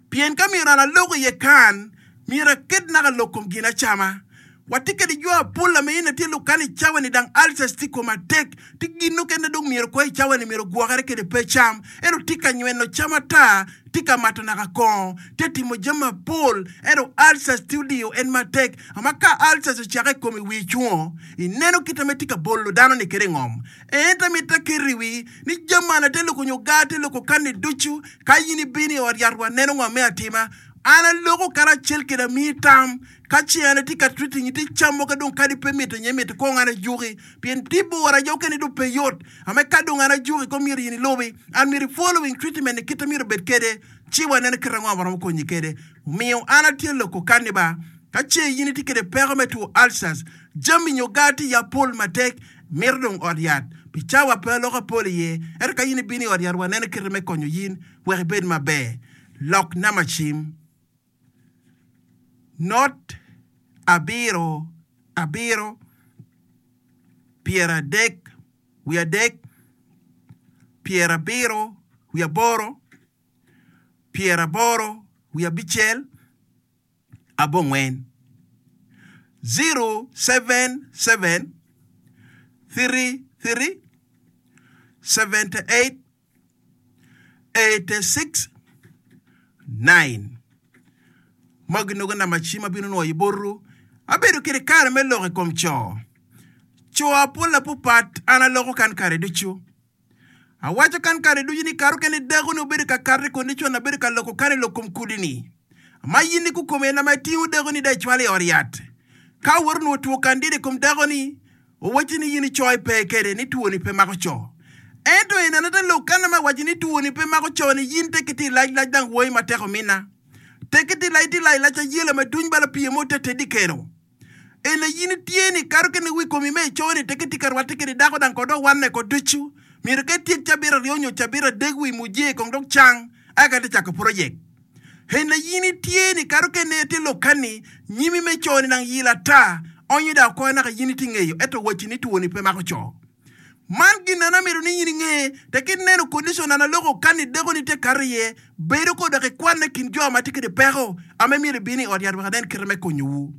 pien ka myero an alok iye kan, myero aket naka lok kom gin acama. Watye kede jo apol ame in atye lok kan i cawa ni dang ulcers tye i kome atek, tye gin mukene dong myero kwo i cawa ni myero ogwokere kede pe cam, ento tye ka nyweno cam ata, tye ka mato naka kongo, tye timo jami mapol, ento ulcers tye odiyo en matek. Ama ka ulcers ocake i komi wii cungo, ineno kite me tye ka bolo dano ni kede ngom. Ento amito aketo i wii ni jami man ate loko nyo gar te loko kan ni ducu, ka in ibino i ot yat wa neno ngo me atima. An aloko karacel kede amiyi tam, ka ce an atye ka treating itye cam mogo dong kadi pe mito nyo imito kong an ajuki, pien tye bora jo okene dong pe yot, ame ka dong an ajuki kong myero in ilubi, an myero i following treatment ni kite myero obed kede, ci wa neno kite ango ma waromo konyi kede. Omiyo an atye loko kani ba, ka ce in itye kede peko me two ulcers, jami nyo gar tye iya pol matek, mito dong ot yat, pi cawa pe aloko apol iye, ento ka in ibino i ot yat wa neno kite me konyo yin wek ibed maber. Lok namba cim, Not abiro abiro pyeradek wiye adek pyerabiro wiye aboro pyeraboro wiye abicel abongwen, zero seven seven three three seventy eight eighty-six nine Magi nongo namba cim abino nwoyo botwu. Abedo kede kare me lok i kom co. Co apol apupat an aloko kan kare ducu. Awaco kan kare ducu ni kare okene dako ni obedo ka kato i kondicon abedo ka loko kan i lok kom kudi ni. Ma yin ni kukome en ama itingo dako ni da icwalo i ot yat. Ka awoto nwo two kandida i kom dako ni, Owacci ni in icoyo pe kede ni twoni pe mako co. Ento en anata lok kana ma wacci ni twoni pe mako co ni yin te kiti lac lac dang woi matek omina. Te kiti lac ti lac lac ayela ma duny bala pie mo te tedi keno. Ena yin tye ni kato kene wi komi me ico ni te kiti ka rwatte kede dako dang kod owanne ko ducu. Myero ka ityek cabit aryo nyo cabit adek wi muje kong dok cang aka te cako project. Ena yin tye ni kato kene te lok kani nyimi me co ni dang yila ata onyo da oko naka yin ti ngeyo eto wacci ni twoni pe mako co. Man gin na amito ni yin inge te ki neno condition na loko kani deko ni te kato iye bedo ko dok ikwanne kin jo ma tye kede peko ame myero ibin i ot yat wek anen kite me konyowu.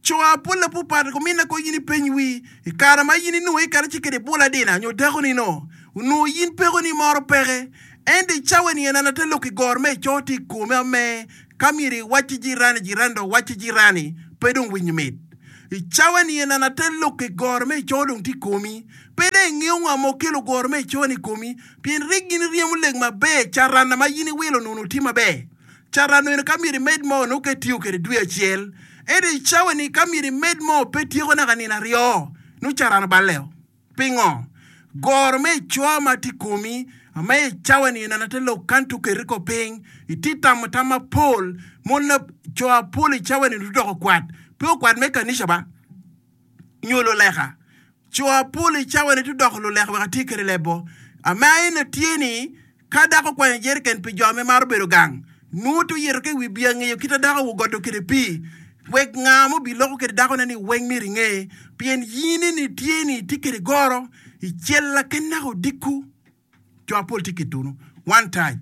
Co apol apupat ko mina ko yin ipeny wi i kare ma yin inongo i kare ci kede bula dina nyo deko ni no onongo yin peko ni moro peke ento i cawa ni en ate lok i gor me ico ti i kome ame ka myero iwacci jirani jirani dok wacci jirani pe dong winyo mit. I cawa ni en ate lok i gor me ico dong ti komi pe dong ingeo ngo ma okelo gor me ico ni komi pien rik gin ryemo lek maber carana ma yin iwilo nunu tye maber. Carano eno ka myero imed mo nongo ka itiyo kede dwe acel ento i cawa ni ka myero imed mo pe tyeko naka nino aryo nongo carano baleo. Pingo? Goro me ico ma tye komi ame i cawa ni en ate lok kan tu keri ko piny iti tamo tam mapol mon na co apol i cawa ni doko kwat pe okwat me kanica ba nyo luleka co apol i cawa ni tudoko luleka wek atye kede lebo ame en tye ni ka dako kwanyo jeriken pi jo ame maro bedo gang nongo to yito ke wi bia ngeyo kita dako ogodo kede pii wek nga mo bi loko kede dako ne ni weng myero inge pien yini ni tye ni tye kede goro i cel ken naka odiko co apol tye kitunu one touch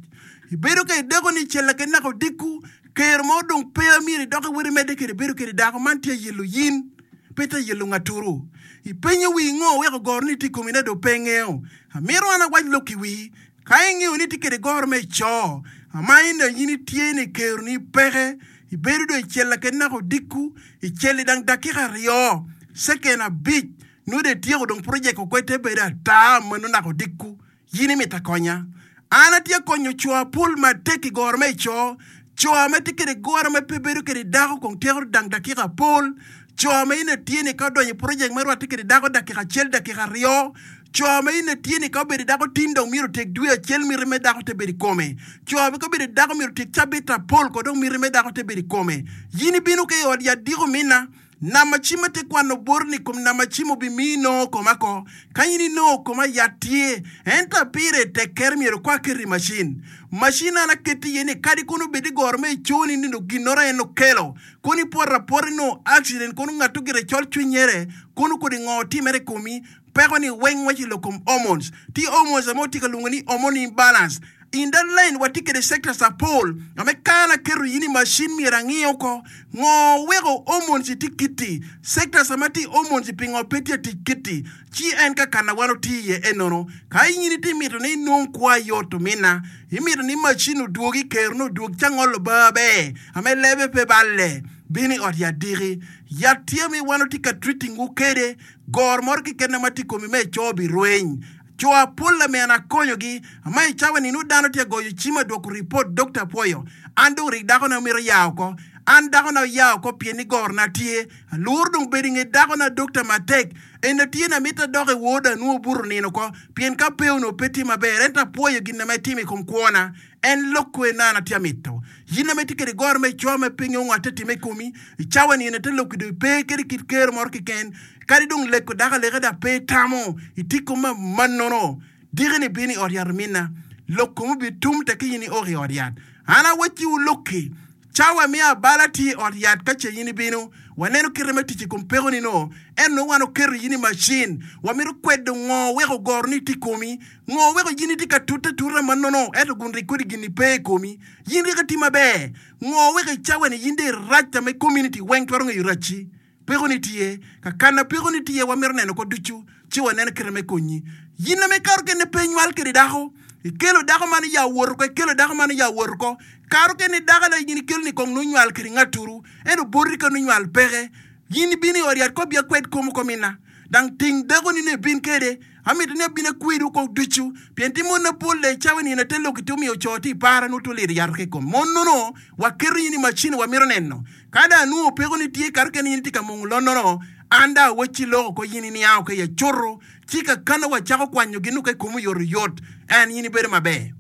ibedo ka ideko ni cel ken naka odiko kero mo dong pe myero idok iweri medde kede bedo kede dako man tye yelo yin pe tye yelo ngaturu ipenyo wi ngo weko goro ni tye komi ne do pe ngeo amito an awac lok i wi ka ingeo ni tye kede goro me ico ama ina yin tye ni kero ni peke ibedo do i cel ken naka odiko i cel dang dakika aryo second abic nongo dong ityeko dong project okwete bedo ata mano naka odiko yin imito akonya. An atye konyo co apol matek i goro me ico co ame tye kede goro me pe bedo kede dako kong tyeko dang dakika apol co ame in tye ni ka odonyo i project me rwatte kede dako dakika acel dakika aryo co ame in tye ni ka obedo dako tin dong myero otyek dwe acel miti me dako te bedo i kome co ame ka obedo dako myero otyek cabit apol ko dong miti me dako te bedo i kome yin ibino ka i ot yat diko mina nama cim ate kwano bor ni kom nama cim obimi nongo koma ko ka yin inongo koma yat tye ento apire tek ker myero kwa keti i macin macin an aketi iye ni kadi kono obed i goro me iconi ni dong ginoro en okelo kono ipoto apota inongo accident kono ngato gire col cwinyere kono kodi ngo timere i komi peko ni weng waci lok kom hormones ti hormones ame otye ka luongo ni hormone imbalance In that line watye kede sectors apol ame kana keto yin i macin myero angio ko ngo weko hormones tye kiti sectors ame tye hormones pingo pe tye tic kiti ci en ka kana wan oti iye enono ka in itye mito ni inong kwo ayot omina imito ni macin odwogi kero ni odwog ca ngolo bar ber ame lebe pe balle bin i ot yat diki yat tye ame wan otye ka treating wu kede goro moro keken ma tye i komi me ico birweny co apol ame an akonyogi ama i cawa ni nongo dano tye agoyo cim adwoko ripot Dr. Apwoyo an dong rik dakona mito ya oko an dakona oya oko pien ni gorona tye alworo dong bedo i nge dakona dokta matek en atye na mito adok i wod anwo obuto nino ko pien ka pe onongo pe tye maber ento apwoyo gin ame itimo i kom kwona en lok kwe na an atye amito yin ame itye kede goro me ico me pe ingeyo ngo ate time i komi i cawa ni en ate lok dong pe kede kit kero moro keken kadi dong leko dako aleka da pe itamo itye kom ma nono diki ni bin i ot yat omina lok kom obitum tek in iok i ot yat an awacciwu lokki cawa me abala tye i ot yat ka ce in ibino waneno kite me tic i kom peko ni no en nongo wan oketo in i macin wamito kwedo ngo weko goro ni tye i komi ngo weko in itye ka tute atuta ma nono ento gun rik kodi gin ni pe i komi in rik iti maber ngo weko i cawa ni in dong irac ame community weng twero ngeyo racci peko ni tye kakana peko ni tye wamito neno ko ducu ci waneno kite me konyi yin ame kato kene pe inywal kede dako ikelo dako man ya woto ko ikelo dako man ya woto ko kato kene dako la yin ikelo ni kong nonywal kede ngaturu ento boti ka nonywal peke yin ibino i ot yat ko bia kwed komo ko mina dang ting dako ni ne bin kede amito ni abin akwedu ko ducu pien ti mon apol le cawa ni ate lok ti omiyo co ti para no to lido yat ke kom mon nono waketo yin i macin wamito neno ka da anwo peko ni tye kato kene yin tye ka mungo lonnono An dong awacci loko ko in iniango ka i acuto, ci kakana wacako kwanyo gin ka i komi oyotoyot, en in ibedo maber.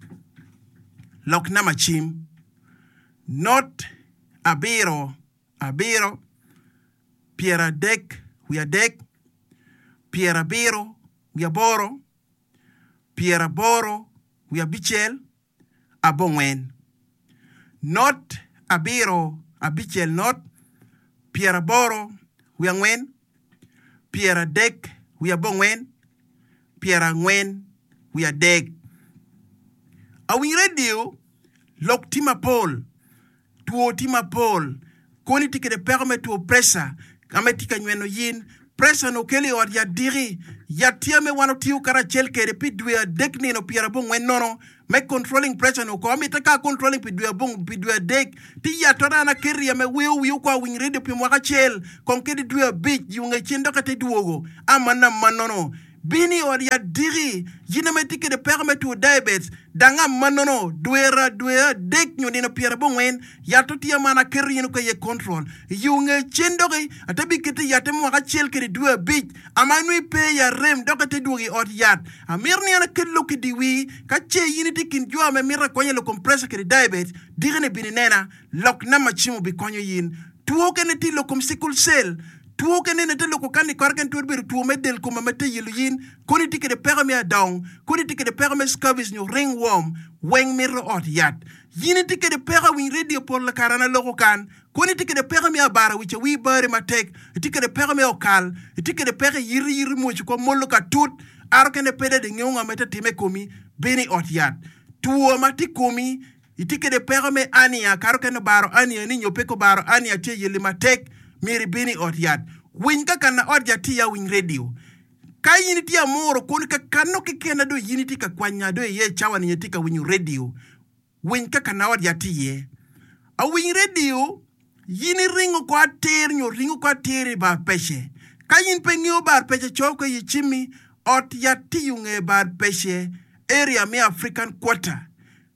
Lok namba cim not abiro abiro pyeradek wiye adek pyerabiro wiye aboro pyeraboro wiye abicel abongwen not abiro abicel not pyeraboro wiye angwen pyeradek wiye abongwen pyerangwen wiye adek. Awiny redio lok tye mapol, two tye mapol, koni tye kede peko me two preca ka ma tye ka nyweno yin. Preca ni okelo i ot yat diki, yat tye ame wan otiyo karacel kede pi dwe adek nino pyerabongwen nono me controlling pressure ni oko. Amite ka controlling pi dwe abong pi dwe adek ti yat tora an aketo iye me weo wiyo kwa awiny redio pi mwaka acel kong kede dwe abic yunge cen dok ate dwogo amana manono. Bin i ot yat diki, yin ame tye kede peko me two diabetes, dang amanono dwera dwe adek nyo nino pyerabongwen yat tye man aketo yin ka iye control. Yunge cen doki ate biketo yatte mwaka acel kede dwe abic ama nongo ipe i arem dok ate dwogo i ot yat. Amito ni an aket lok i di wi ka ce in itye i kin jo ame mito akonya lok kom pressure kede diabetes diki ni bin inena lok namba cim obikonyo yin. Two kene tye lok kom sickle cell, two kene ne te loko kan i kore kene twero bedo two me del kom ame te yelo yin, koni tye kede peko me adong, koni tye kede peko me scabies nyo ringworm, weng mito ot yat. Yin itye kede peko awiny redio pol kare an aloko kan, koni tye kede peko me abara wic awi bari matek, itye kede peko me okal, itye kede peko i yiti yiti mwoc ko molo ka tut, aro kene pe dong ingeyo ngo ma te time i komi, bin i ot yat. Two ma tye i komi, itye kede peko me ania, kare okene obaro ania ni nyo pe ko baro ania tye yeli matek, myero ibin i ot yat. Winy ka kana ot yat tye iya winy redio. Ka in itye amuro kun ka kano keken dong in itye ka kwanya dong iye cawa ni itye ka winyo redio. Winy ka kana ot yat tye iye. Awiny redio, in iringo ko atir nyo ringo ko atir i bar pece. Ka in pe ingeyo bar pece co ko i cimmi, ot yat tye i bar pece area me African Quarter.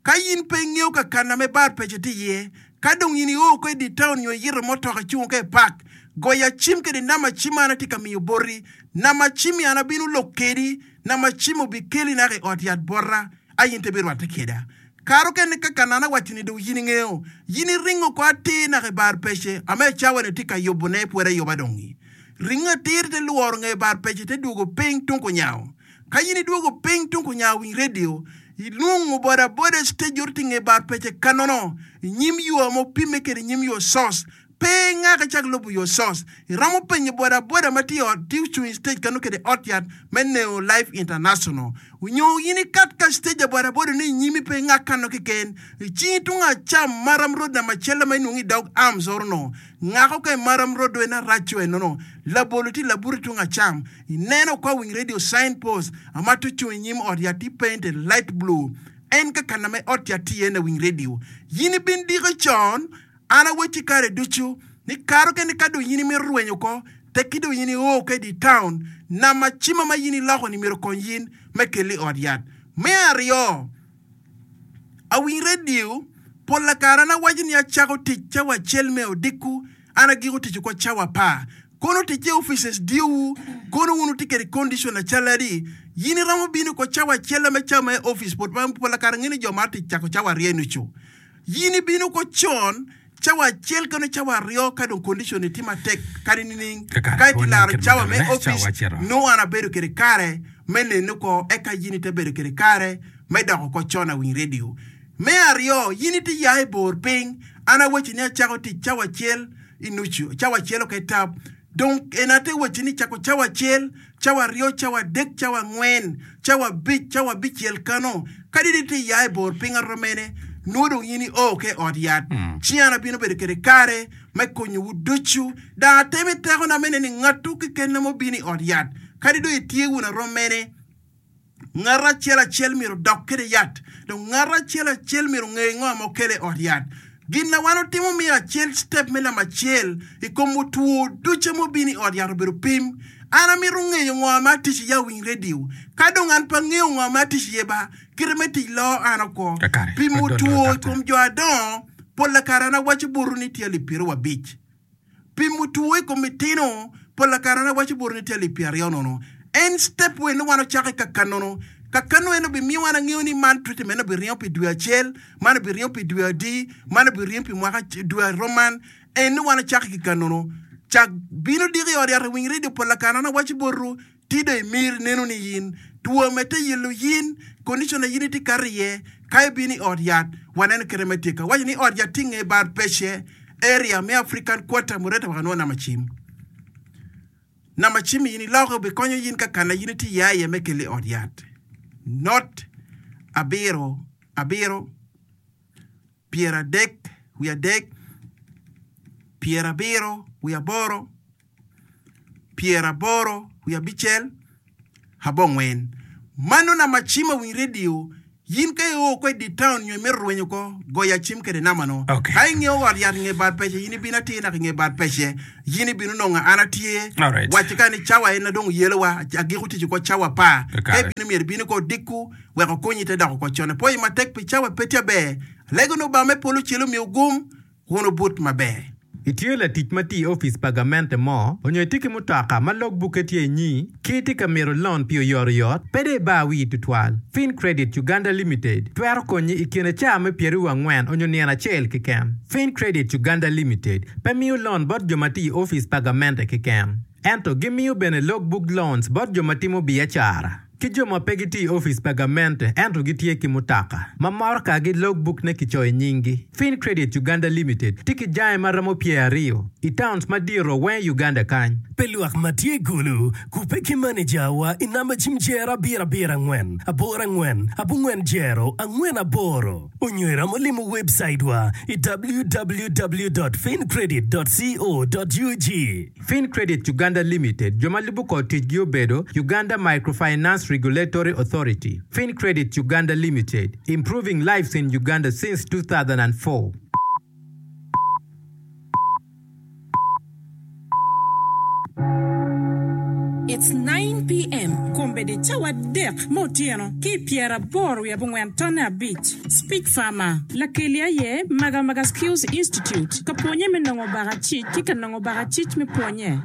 Ka in pe ingeyo ka kana me bar pece tye iye, ka dong in io ko i di town nyo iyito motoka icungo ka i park, goya cim kede namba cim an atye ka miyo boti. Namba cim an abino lok kedi, namba cim obikeli naka i ot yat bota, a in te birwatte keda. Kare okene ka kana an awaco ni dong in ingeyo, in iringo ko atir naka i bar pece, ame cawa ni tye ka yubone pwod ayuba dongi. Ringo atir te lworo nge bar pece te dwogo piny tung kunyawo. Ka in idwogo piny tung kunyawo winy redio, ilwongo boda boda stage oro tye nge bar pece kanono, inyim yo ma opime kede inyim yo sos. Pe ngaka cak lubo yo sos. Iromo penyo boda boda ma tye ot tye ocung i stage kano kede ot yat me Neo Life International. Onyo in ikat ka stage a boda boda ni inyimi pe ngak kano keken. Icingi tung acam maram road namba acel ma inwongo i dog arms oro no. Ngako ka i maram road en araco enono. Labolo tye laburi tung acam. Ineno kwa winy radio signpost ama tye ocung inyim ot yat tye painted light blue. En ka kana me ot yat tye iye na winy radio. Yin ibin diko con, an awacci kare ducu ni kare okene ka dong in imito rwenyo ko, tekki dong in io ka i di town, namba cim ma in iloko ni myero okony yin me keli i ot yat. Me aryo, awiny radio, pol kare an awaco ni acako tic cawa acel me odiko, an agiko tic oko cawa apar. Kono tic i offices diyowu, kono wun wutye kede condition acaladi, yin iromo bino ko cawa acel me cawa ma i office, pol pol kare ngeni jo mar tic cako cawa aryo nucu. Yin ibino ko con, cawa acel kano cawa aryo ka dong condition ni tye matek kadi nining, Kakare, ka iti laro kit cawa me madongo ne, cawa office, acito. nongo an abedo kede kare me neno ko, eka yin ite bedo kede kare me doko ko con awiny radio. Me aryo, yin iti ya i bor piny, an awaci ni acako tic cawa acel i nucu, cawa acel oke tap. Dong en ate waci ni cako cawa acel, cawa aryo, cawa adek, cawa angwen, cawa abic, cawa abicel kano. Kadi di iti ya i bor piny aroo mene, nongo dong in io ke ot yat. Ci an abino bedo kede kare me konyowu ducu. Dong ateme tekona me neno ni ngatu keken ma obino i ot yat. Kadi dong itye wun aroo mene, ngat acel acel myero odok kede yat. Dong ngat acel acel myero onge ngo ma okelo i ot yat. Gin na wan otimo me acel step me namba acel i kom otwo ducu ma obino i ot yat obedo pim. An amito ngeyo ngo ma atic iye awiny radio. Ka dong an pe angeyo ngo ma atic iye ba, kite me tic loo an oko. Kakare, Pimo wadol two i daktar. kom jo adongo, pol kare an awaco botu ni tye alip pyeraryo abic. Pimo two i kom itino, Pol kare an awaco boti ni tye alip pyera aryo nono. En step wen wan ocake ka kanono. Ka kano en obimiyo wan angeyo ni man treatment obiringo pi dwe acel, man obiringo pi dwe adi, man obiringo pi mwaka dwe aroman. En wan ocake ki kanono. Cak bino diki i ot yat winy radio pol kare an awaco botwu tido imir neno ni yin two mete yelo yin condition na yin itye kato iye ka ibino i ot yat waneno kite me tyeko. Awaco ni ot yat tye i nge bar pece area me African Quarter Mureta wek anwo namba cim. Namba cim in iloko obikonyo yin ka kana yin itye iye aye me kelo i ot yat. Not abiro abiro pyeradek wiye adek pyerabiro wiye aboro pyeraboro wiye abicel abongwen. Mano namba cim awiny radio yin ka io ko i di town nyo imito rwenyo ko goya cim kede namba no. Okay. Ka ingeo ot yat nge bad pece yin ibino atir naka nge bad pece yin ibino nongo an atye. Alright. Waci ka ni cawa en na dong yelowa agiko tic ko cawa apar. Kakare. Ka ibino myero ibino ko odiko wek okonyi te doko ko con. Apoyi matek pi cawa pe tye aber. Alego ni Obama me polo celo miyo gum wun obut maber. Itye latic ma tye i opic pa gamente mo onyo itye ki mutoka ma logbukke tye inyi ki itye ka mito loan pi oyotoyot pe dong ibar wii tutwal. Fin Credit Uganda Limited twero konyi i kine caa me pyeraryo angwen onyo nino acel keken. Fin Credit Uganda Limited pe miyo loan bot jo ma tye i opic pa gamente keken. Ento gimiyo bene logbook loans bot jo ma timo biacara ki jo ma pe gitye i opic pa gamente ento gitye ki mutoka ma moro ka gi logbook ne kicoyo i nyinggi. Fin Credit Uganda Limited tye ki jange ma romo pyera aryo i towns madiro weng i Uganda kany. Pe lwak ma tye Gulu, kupe ki maneja wa i namba cim jero abiro abiro angwen, aboro angwen, abongwen jero, angwen aboro. Onyo iromo limo website wa i www.fincredit.co.ug. Fin Credit Uganda Limited jo ma lubo kod ticgi obedo Uganda Microfinance Regulatory Authority. Fin Credit Uganda Limited, improving lives in Uganda since two thousand four. It's nine P M Kombeddi cawa adek ma otyeno ki pyeraboro wiye abongwen tonne abic. Speech Farmer lakeli aye Magamaga Skills Institute ka pwonye me nongo bakacic ki ka nongo bakacic me pwonye.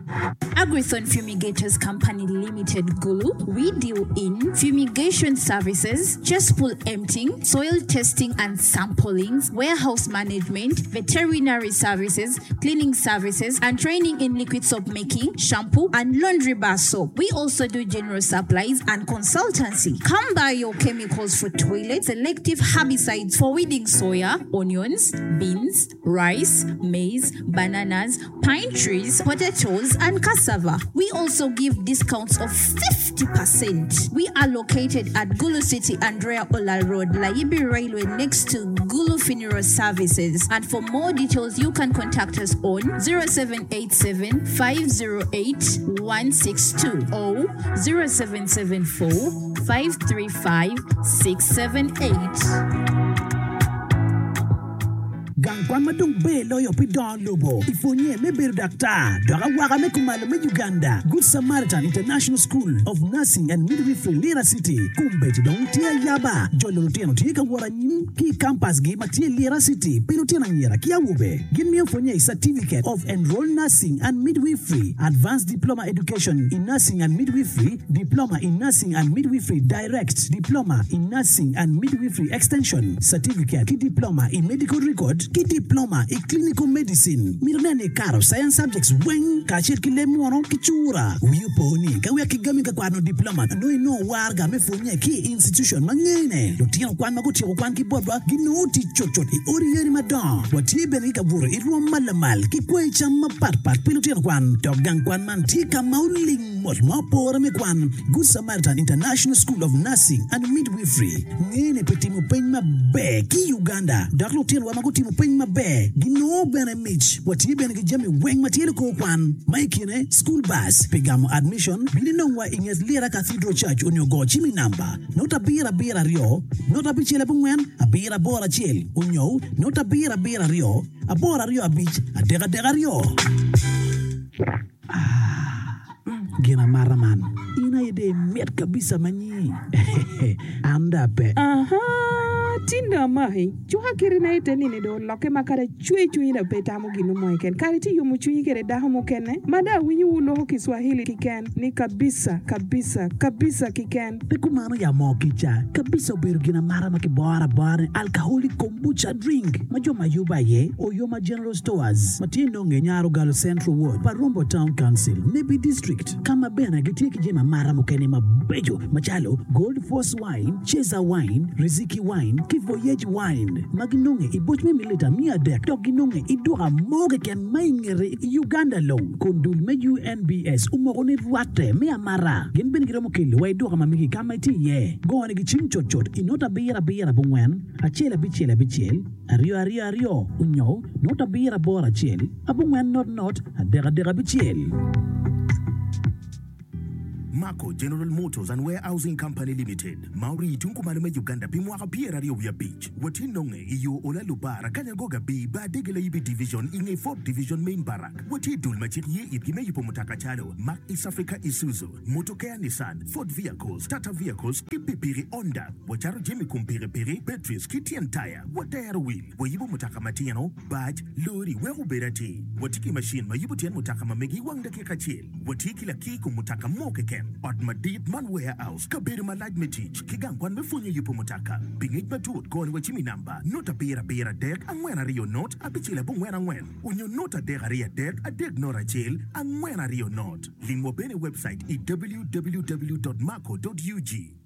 Agrithon Fumigators Company Limited Gulu, we deal in fumigation services, cesspool emptying, soil testing and samplings, warehouse management, veterinary services, cleaning services, and training in liquid soap making, shampoo, and laundry bar soap. We also do general supplies and consultancy. Come buy your chemicals for toilets, selective herbicides for weeding soya, onions, beans, rice, maize, bananas, pine trees, potatoes, and cassava. We also give discounts of fifty percent. We are located at Gulu City, Andrea Ola Road, Layibi Railway, next to Gulu Funeral Services. And for more details, you can contact us on zero seven eight seven, five zero eight, one six two or zero seven seven four, five three five, six seven eight. Gang kwan ma dong ber loyo pi dongo lobo i pwonye me bedo daktar dok awaka me kumalo me Uganda Good Samaritan International School of Nursing and Midwifery Lira City kombeddi dong tye ayaba jolo lutino tye ka wot anyim ki i campus gi ma tye Lira City pi lutino anyira ki awobe gin miyo pwonye i Certificate of Enrolled Nursing and Midwifery Advanced Diploma Education in Nursing and Midwifery Diploma in Nursing and Midwifery Direct Diploma in Nursing and Midwifery Extension Certificate ki Diploma in Medical Record ki Diploma in Clinical Medicine mito neno i karo science subjects weng kacel ki leb muno ki cura wiyi opo ni ka wek kigami ka kwano diploma nongo inongo warga me pwonye ki i institution ma ngene lutino kwan ma gutyeko kwan ki botwa ginongo tic cutcut i odi yeni madongo watye bene ki kabuto i rwom ma lamal ki kweyo cam mapatpat pi lutino kwan dok gang kwan man tye ka ma oling mot ma opore me kwan Good Samaritan International School of Nursing and Midwifery ngene pi timo peny maber ki Uganda dok lutinowa ma gutimo peny maber ginongo bene mic watye bene ki jami weng ma tye likor kwan ma i kine school bus pi gamo admission bino inongwa i nget Lira Cathedral Church onyo go cim i namba not abiro abiro aryo not abicel abongwen abiro aboro acel onyo not abiro abiro aryo aboro aryo abic adek adek aryo. Ah, gin amata man in aye dong imit kabisa ma nyi. An dong ape. Aha, Tindo amaki, cuka kiti na ite nini dong olokke ma kadi acwe cwinyi dong pe itamo gin mo keken. Kadi itye yomo cwinyi kwede dako mukene ma dong awinyo wu loko Kiswahili kiken ni kabisa, kabisa, kabisa kiken. Pe kumano ya moo kica, kabisa obedo gin amata ma kiboro abora ni alcoholic kombucha drink ma jo ma yubo aye Oyoma General Stores ma tye nonge i Nyarogalo Central Ward pa Rombo Town Council, Nebbi District, ka ma bene gitye ki jami amata mukene mabeco macalo Gold Force Wine, Ceza Wine, Riziki Wine ki Voyage Wine ma ginonge i boc me mililita miya adek dok ginonge i duka mo keken ma i ngete i Uganda long kun dul me U N B S omoko ni rwatte me amata. Gin bene giromo kelo wa i duka ma megi ka ma itye iye. Gonigi cim cutcut i not abiro abiro abongwen acel abicel abicel aryo aryo aryo onyo not abiro aboro acel abongwen not not adek adek abicel. Mako General Motors and Warehousing Company Limited ma orii tung kumalo me Uganda pi mwaka pyeraryo wiye abic watye nonge i yo Ola Lubara Kanyagoga B Badege Layibi Division i nge Fourth Division Main Barrack. Watye dul ma cik ye itgi me yubo mutoka calo Mack East Africa Isuzu, Motokea Nissan, Ford Vehicles, Tata Vehicles ki pikipiki Honda. Wacato jami kom pikipiki, batteries ki tyen taya. Watero wil, wayubo mutoka matino, bac, lori wek obed atir. Watye ki macin ma yubo tyen mutoka ma megi i wang dakika acel. Watye ki lakir kom mutoka mo keken. Ot madit man warehouse, kabedo malac me tic, ki gang kwan me pwonyo yubo mutoka. Pi ngec matut goni wa cim i namba not abiro abiro adek angwen aryo not abicel abongwen angwen onyo not adek aryo adek adek not acel angwen aryo not. Limwa bene i website i W W W dot mako dot U G.